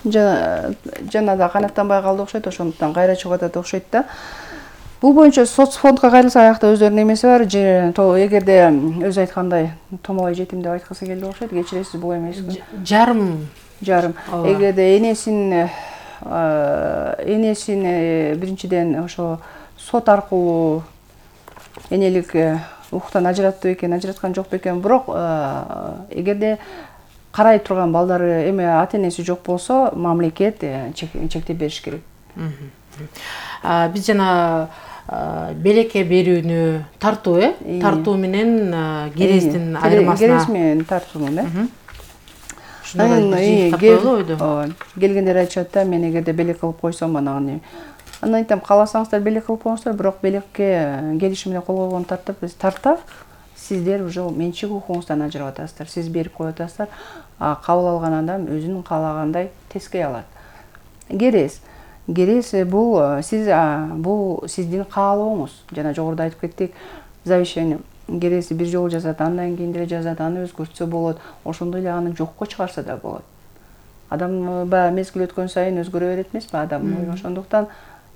жана да канаттанбай калды окшойт, ошондуктан кайра чыгып атат окшойт да. Бул боюнча соцфондко кайрылса, аякта өздөрүнүн эмеси бар. Эгерде өзү айткандай томолой жетим деп айткысы келди окшойт, кечиресиз, бул эмеспи? Жарым. Эгерде энесин биринчиден ошо сот аркылуу энелик укуктан ажыратты бекен, ажыраткан жок бекен, бирок эгерде карай турган балдары эми ата-энеси жок болсо, мамлекет чектеп бериш керек. Биз жана белекке берүүнү тартуу, тартуу менен керездин айырмасына. Керез менен тартуунун, келгендер айтышат да, мен эгерде белек кылып койсом, анан айтам, кааласаңыздар белек кылып коюңуздар, бирок белекке келишимине кол койгон тарта сиздер уже менчик укугуңуздан ажырап атасыздар. Сиз берип коюп атасыздар, кабыл алган адам өзүнүн каалагандай тескей алат. Керез бул сиздин каалооңуз. Жана жогоруда айтып кеттик, завещание керези бир жолу жазат, андан кийин деле жазат, аны өзгөртсө болот, ошондой эле аны жокко чыгарса да болот. Адам баягы мезгил өткөн сайын өзгөрө берет эмеспи адам. Ошондуктан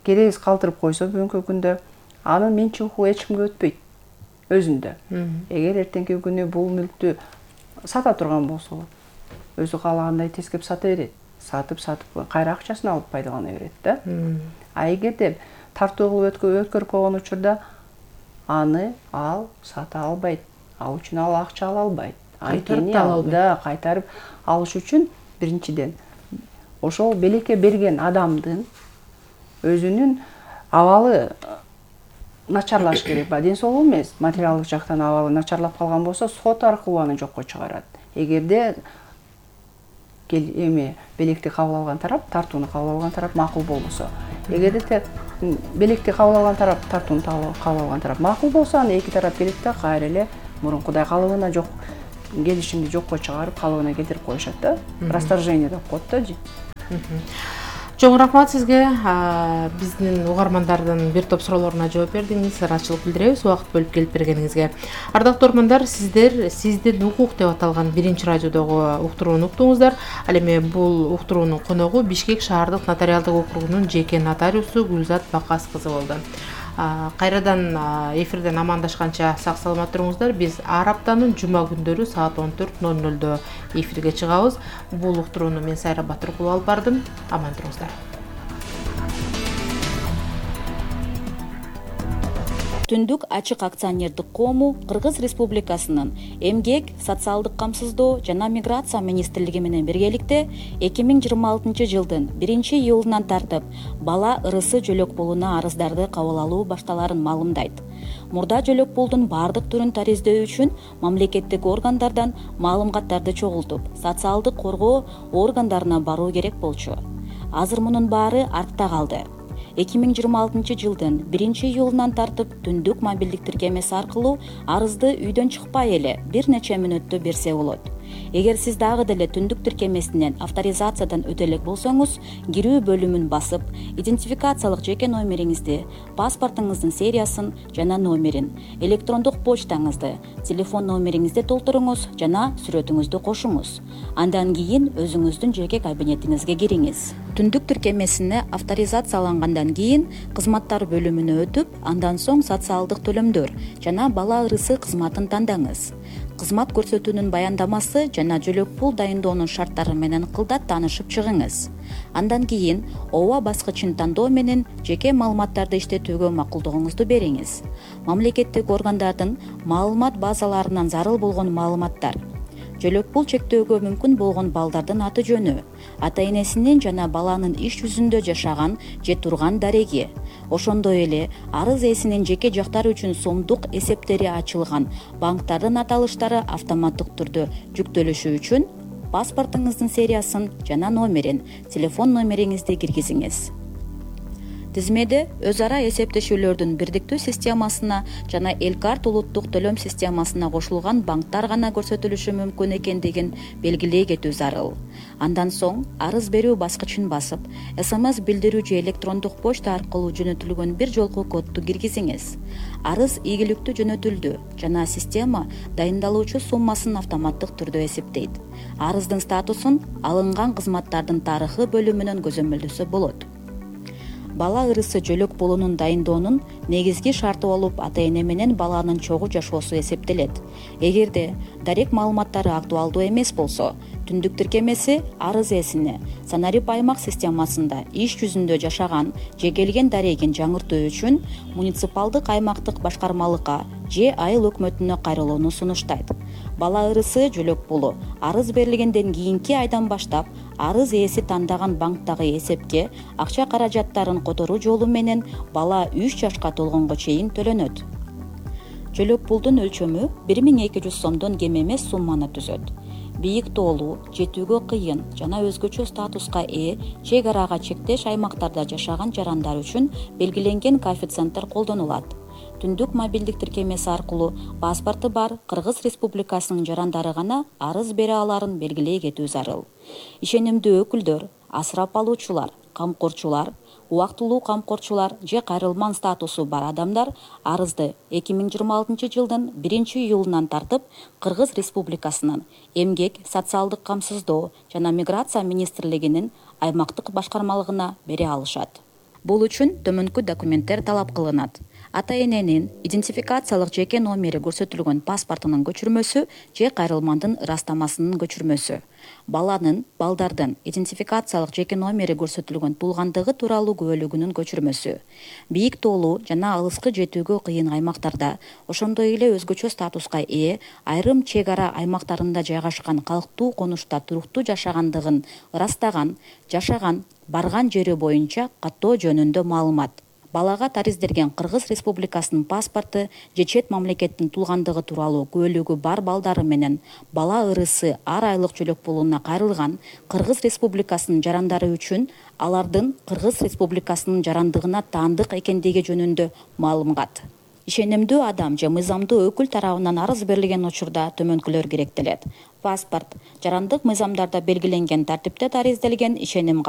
керез калтырып койсо бүгүнкү күндө анын менчик укугу эч кимге өтпөйт өзүндө. Эгер эртеңки күнү бул мүлктү сата турган болсо, өзү каалагандай тескеп сата берет. Сатып кайра акчасын алып пайдалана берет да. А эгерде тартуу кылып өткөрүп койгон учурда аны ал сата албайт. Ал үчүн ал акча ала албайт. анткени кайтарып алыш үчүн биринчиден ошол белекке берген адамдын өзүнүн абалы начарлаш керек. Ден соолугу эмес, материалдык жактан абалы начарлап калган болсо, сот аркылуу аны жокко чыгарат. Эгерде белекти кабыл алган тарап, тартууну кабыл алган тарап макул болбосо, эгерде белекти кабыл алган тарап, тартууну кабыл алган тарап макул болсо, аны эки тарап келет да кайра эле мурункудай калыбына келишимди жокко чыгарып, калыбына келтирип коюшат да. Расторжение деп коет да. Чоң рахмат сизге. Биздин угармандардын бир топ суроолоруна жооп бердиңиз. Ыраачылык билдиребиз убакыт бөлүп келип бергениңизге. Ардактуу угармандар, сиздер Сиздин укук деп аталган биринчи радиодогу уктурууну уктуңуздар. Ал эми бул уктуруунун коногу Бишкек шаардык нотариалдык округунун жеке нотариусу Гүлзат Бакас кызы болду. Кайрадан эфирден амандашканча сак саламат туруңуздар. Биз ар аптанын жума күндөрү саат 14:00 эфирге чыгабыз. Бул уктурууну мен Сайра Батыркулова алып бардым. Аман туруңуздар. Түндүк ачык акционердик коому Кыргыз Республикасынын Эмгек, социалдык камсыздоо жана миграция министрлиги менен биргеликте 2026 жылдын 1-июлунан тартып бала ырысы жөлөк пулуна арыздарды кабыл алуу башталарын маалымдайт. Мурда жөлөк пулдун бардык түрүн тариздөө үчүн мамлекеттик органдардан маалыматтарды чогултуп, социалдык коргоо органдарына баруу керек болчу. Азыр мунун баары артта калды. 2026 жылдын 1-июлунан тартып түндүк мобилдик тиркемеси аркылуу арызды үйдөн чыкпай эле бир нече мүнөттө берсе болот. Эгер сиз дагы деле түндүк тиркемесинен авторизациядан өтө элек болсоңуз, кирүү бөлүмүн басып, идентификациялык жеке номериңизди, паспортуңуздун сериясын жана номерин, электрондук почтаңызды, телефон номериңизди толтуруңуз жана сүрөтүңүздү кошуңуз. Андан кийин өзүңүздүн жеке кабинетиңизге кириңиз. Түндүк тиркемесине авторизациялангандан кийин кызматтар бөлүмүнө өтүп, андан соң социалдык төлөмдөр жана бала ырысы кызматын тандаңыз. Кызмат көрсөтүүнүн баяндамасы жана жөлөк пул дайындоонун шарттары менен кылдат таанышып чыгыңыз. Андан кийин ооба баскычын тандоо менен жеке маалыматтарды иштетүүгө макулдугуңузду бериңиз. Мамлекеттик органдардын маалымат базаларынан зарыл болгон маалыматтар, жөлөк пул чектөөгө мүмкүн болгон балдардын аты жөнү, ата энесинин жана баланын иш жүзүндө жашаган же турган дареги, ошондой эле арыз ээсинин жеке жактары үчүн сомдук эсептери ачылган банктардын аталыштары автоматтык түрдө жүктөлүшү үчүн паспортуңуздун сериясын жана номерин, телефон номериңизди киргизиңиз. Тизмеде өз ара эсептешүүлөрдүн бирдиктүү системасына жана Элкарт улуттук төлөм системасына кошулган банктар гана көрсөтүлүшү мүмкүн экендигин белгилей кетүү зарыл. Андан соң арыз берүү баскычын басып, СМС билдирүү же электрондук почта аркылуу жөнөтүлгөн бир жолку кодду киргизиңиз. Арыз ийгиликтүү жөнөтүлдү жана система дайындалуучу суммасын автоматтык түрдө эсептейт. Арыздын статусун алынган кызматтардын тарыхы бөлүмүнөн көзөмөлдөсө болот. Бала ырысы жөлөк пулунун дайындоонун негизги шарты болуп, ата эне менен баланын чогуу жашоосу эсептелет. Эгерде дарек маалыматтары актуалдуу эмес болсо, түндүк тиркемеси арыз ээсине Санарип аймак системасында иш жүзүндө жашаган же келген дарегин жаңыртуу үчүн муниципалдык аймактык башкармалыкка же айыл өкмөтүнө кайрылууну сунуштайт. Бала ырысы жөлөк пулу арыз берилгенден кийинки айдан баштап арыз ээси тандаган банктагы эсепке акча каражаттарын которуу жолу менен бала 3 жашка толгонго чейин төлөнөт. Жөлөк пулдун өлчөмү 1200 сомдон кем эмес сумманы түзөт. Бийик тоолуу, жетүүгө кыйын жана өзгөчө статуска ээ чек арага чектеш аймактарда жашаган жарандар үчүн белгиленген коэффициенттер колдонулат. Түндүк мобилдик тиркемеси аркылуу паспорту бар Кыргыз Республикасынын жарандары гана арыз бере аларын белгилей кетүү зарыл. Ишенимдүү өкүлдөр, асырап алуучулар, камкорчулар, убактылуу камкорчулар же кайрылман статусу бар адамдар арызды 2026 жылдын 1-июлунан тартып Кыргыз Республикасынын Эмгек, социалдык камсыздоо жана миграция министрлигинин аймактык башкармалыгына бере алышат. Бул үчүн төмөнкү документтер талап кылынат. ата эненин идентификациялык жеке номери көрсөтүлгөн паспортунун көчүрмөсү же кайрылмандын ырастамасынын көчүрмөсү, балдардын идентификациялык жеке номери көрсөтүлгөн туулгандыгы тууралуу күбөлүгүнүн көчүрмөсү, бийик тоолуу жана алыскы жетүүгө кыйын аймактарда, ошондой эле өзгөчө статуска ээ айрым чек ара аймактарында жайгашкан калктуу конушта туруктуу жашагандыгын ырастаган, жашаган, барган жери боюнча каттоо жөнүндө маалымат. Балага тариздерген Кыргыз Республикасынын паспорту же чет мамлекеттин туулгандыгы тууралуу күбөлүгү бар балдары менен бала ырысы ар айлык жөлөк пулуна кайрылган Кыргыз Республикасынын жарандары үчүн алардын Кыргыз Республикасынын жарандыгына таандык экендиги жөнүндө маалымат. Ишенимдүү адам же мыйзамдуу өкүл тарабынан арыз берилген учурда төмөнкүлөр керектелет. Паспорт жарандык мыйзамдарда белгиленген тартипте таризделген ишеним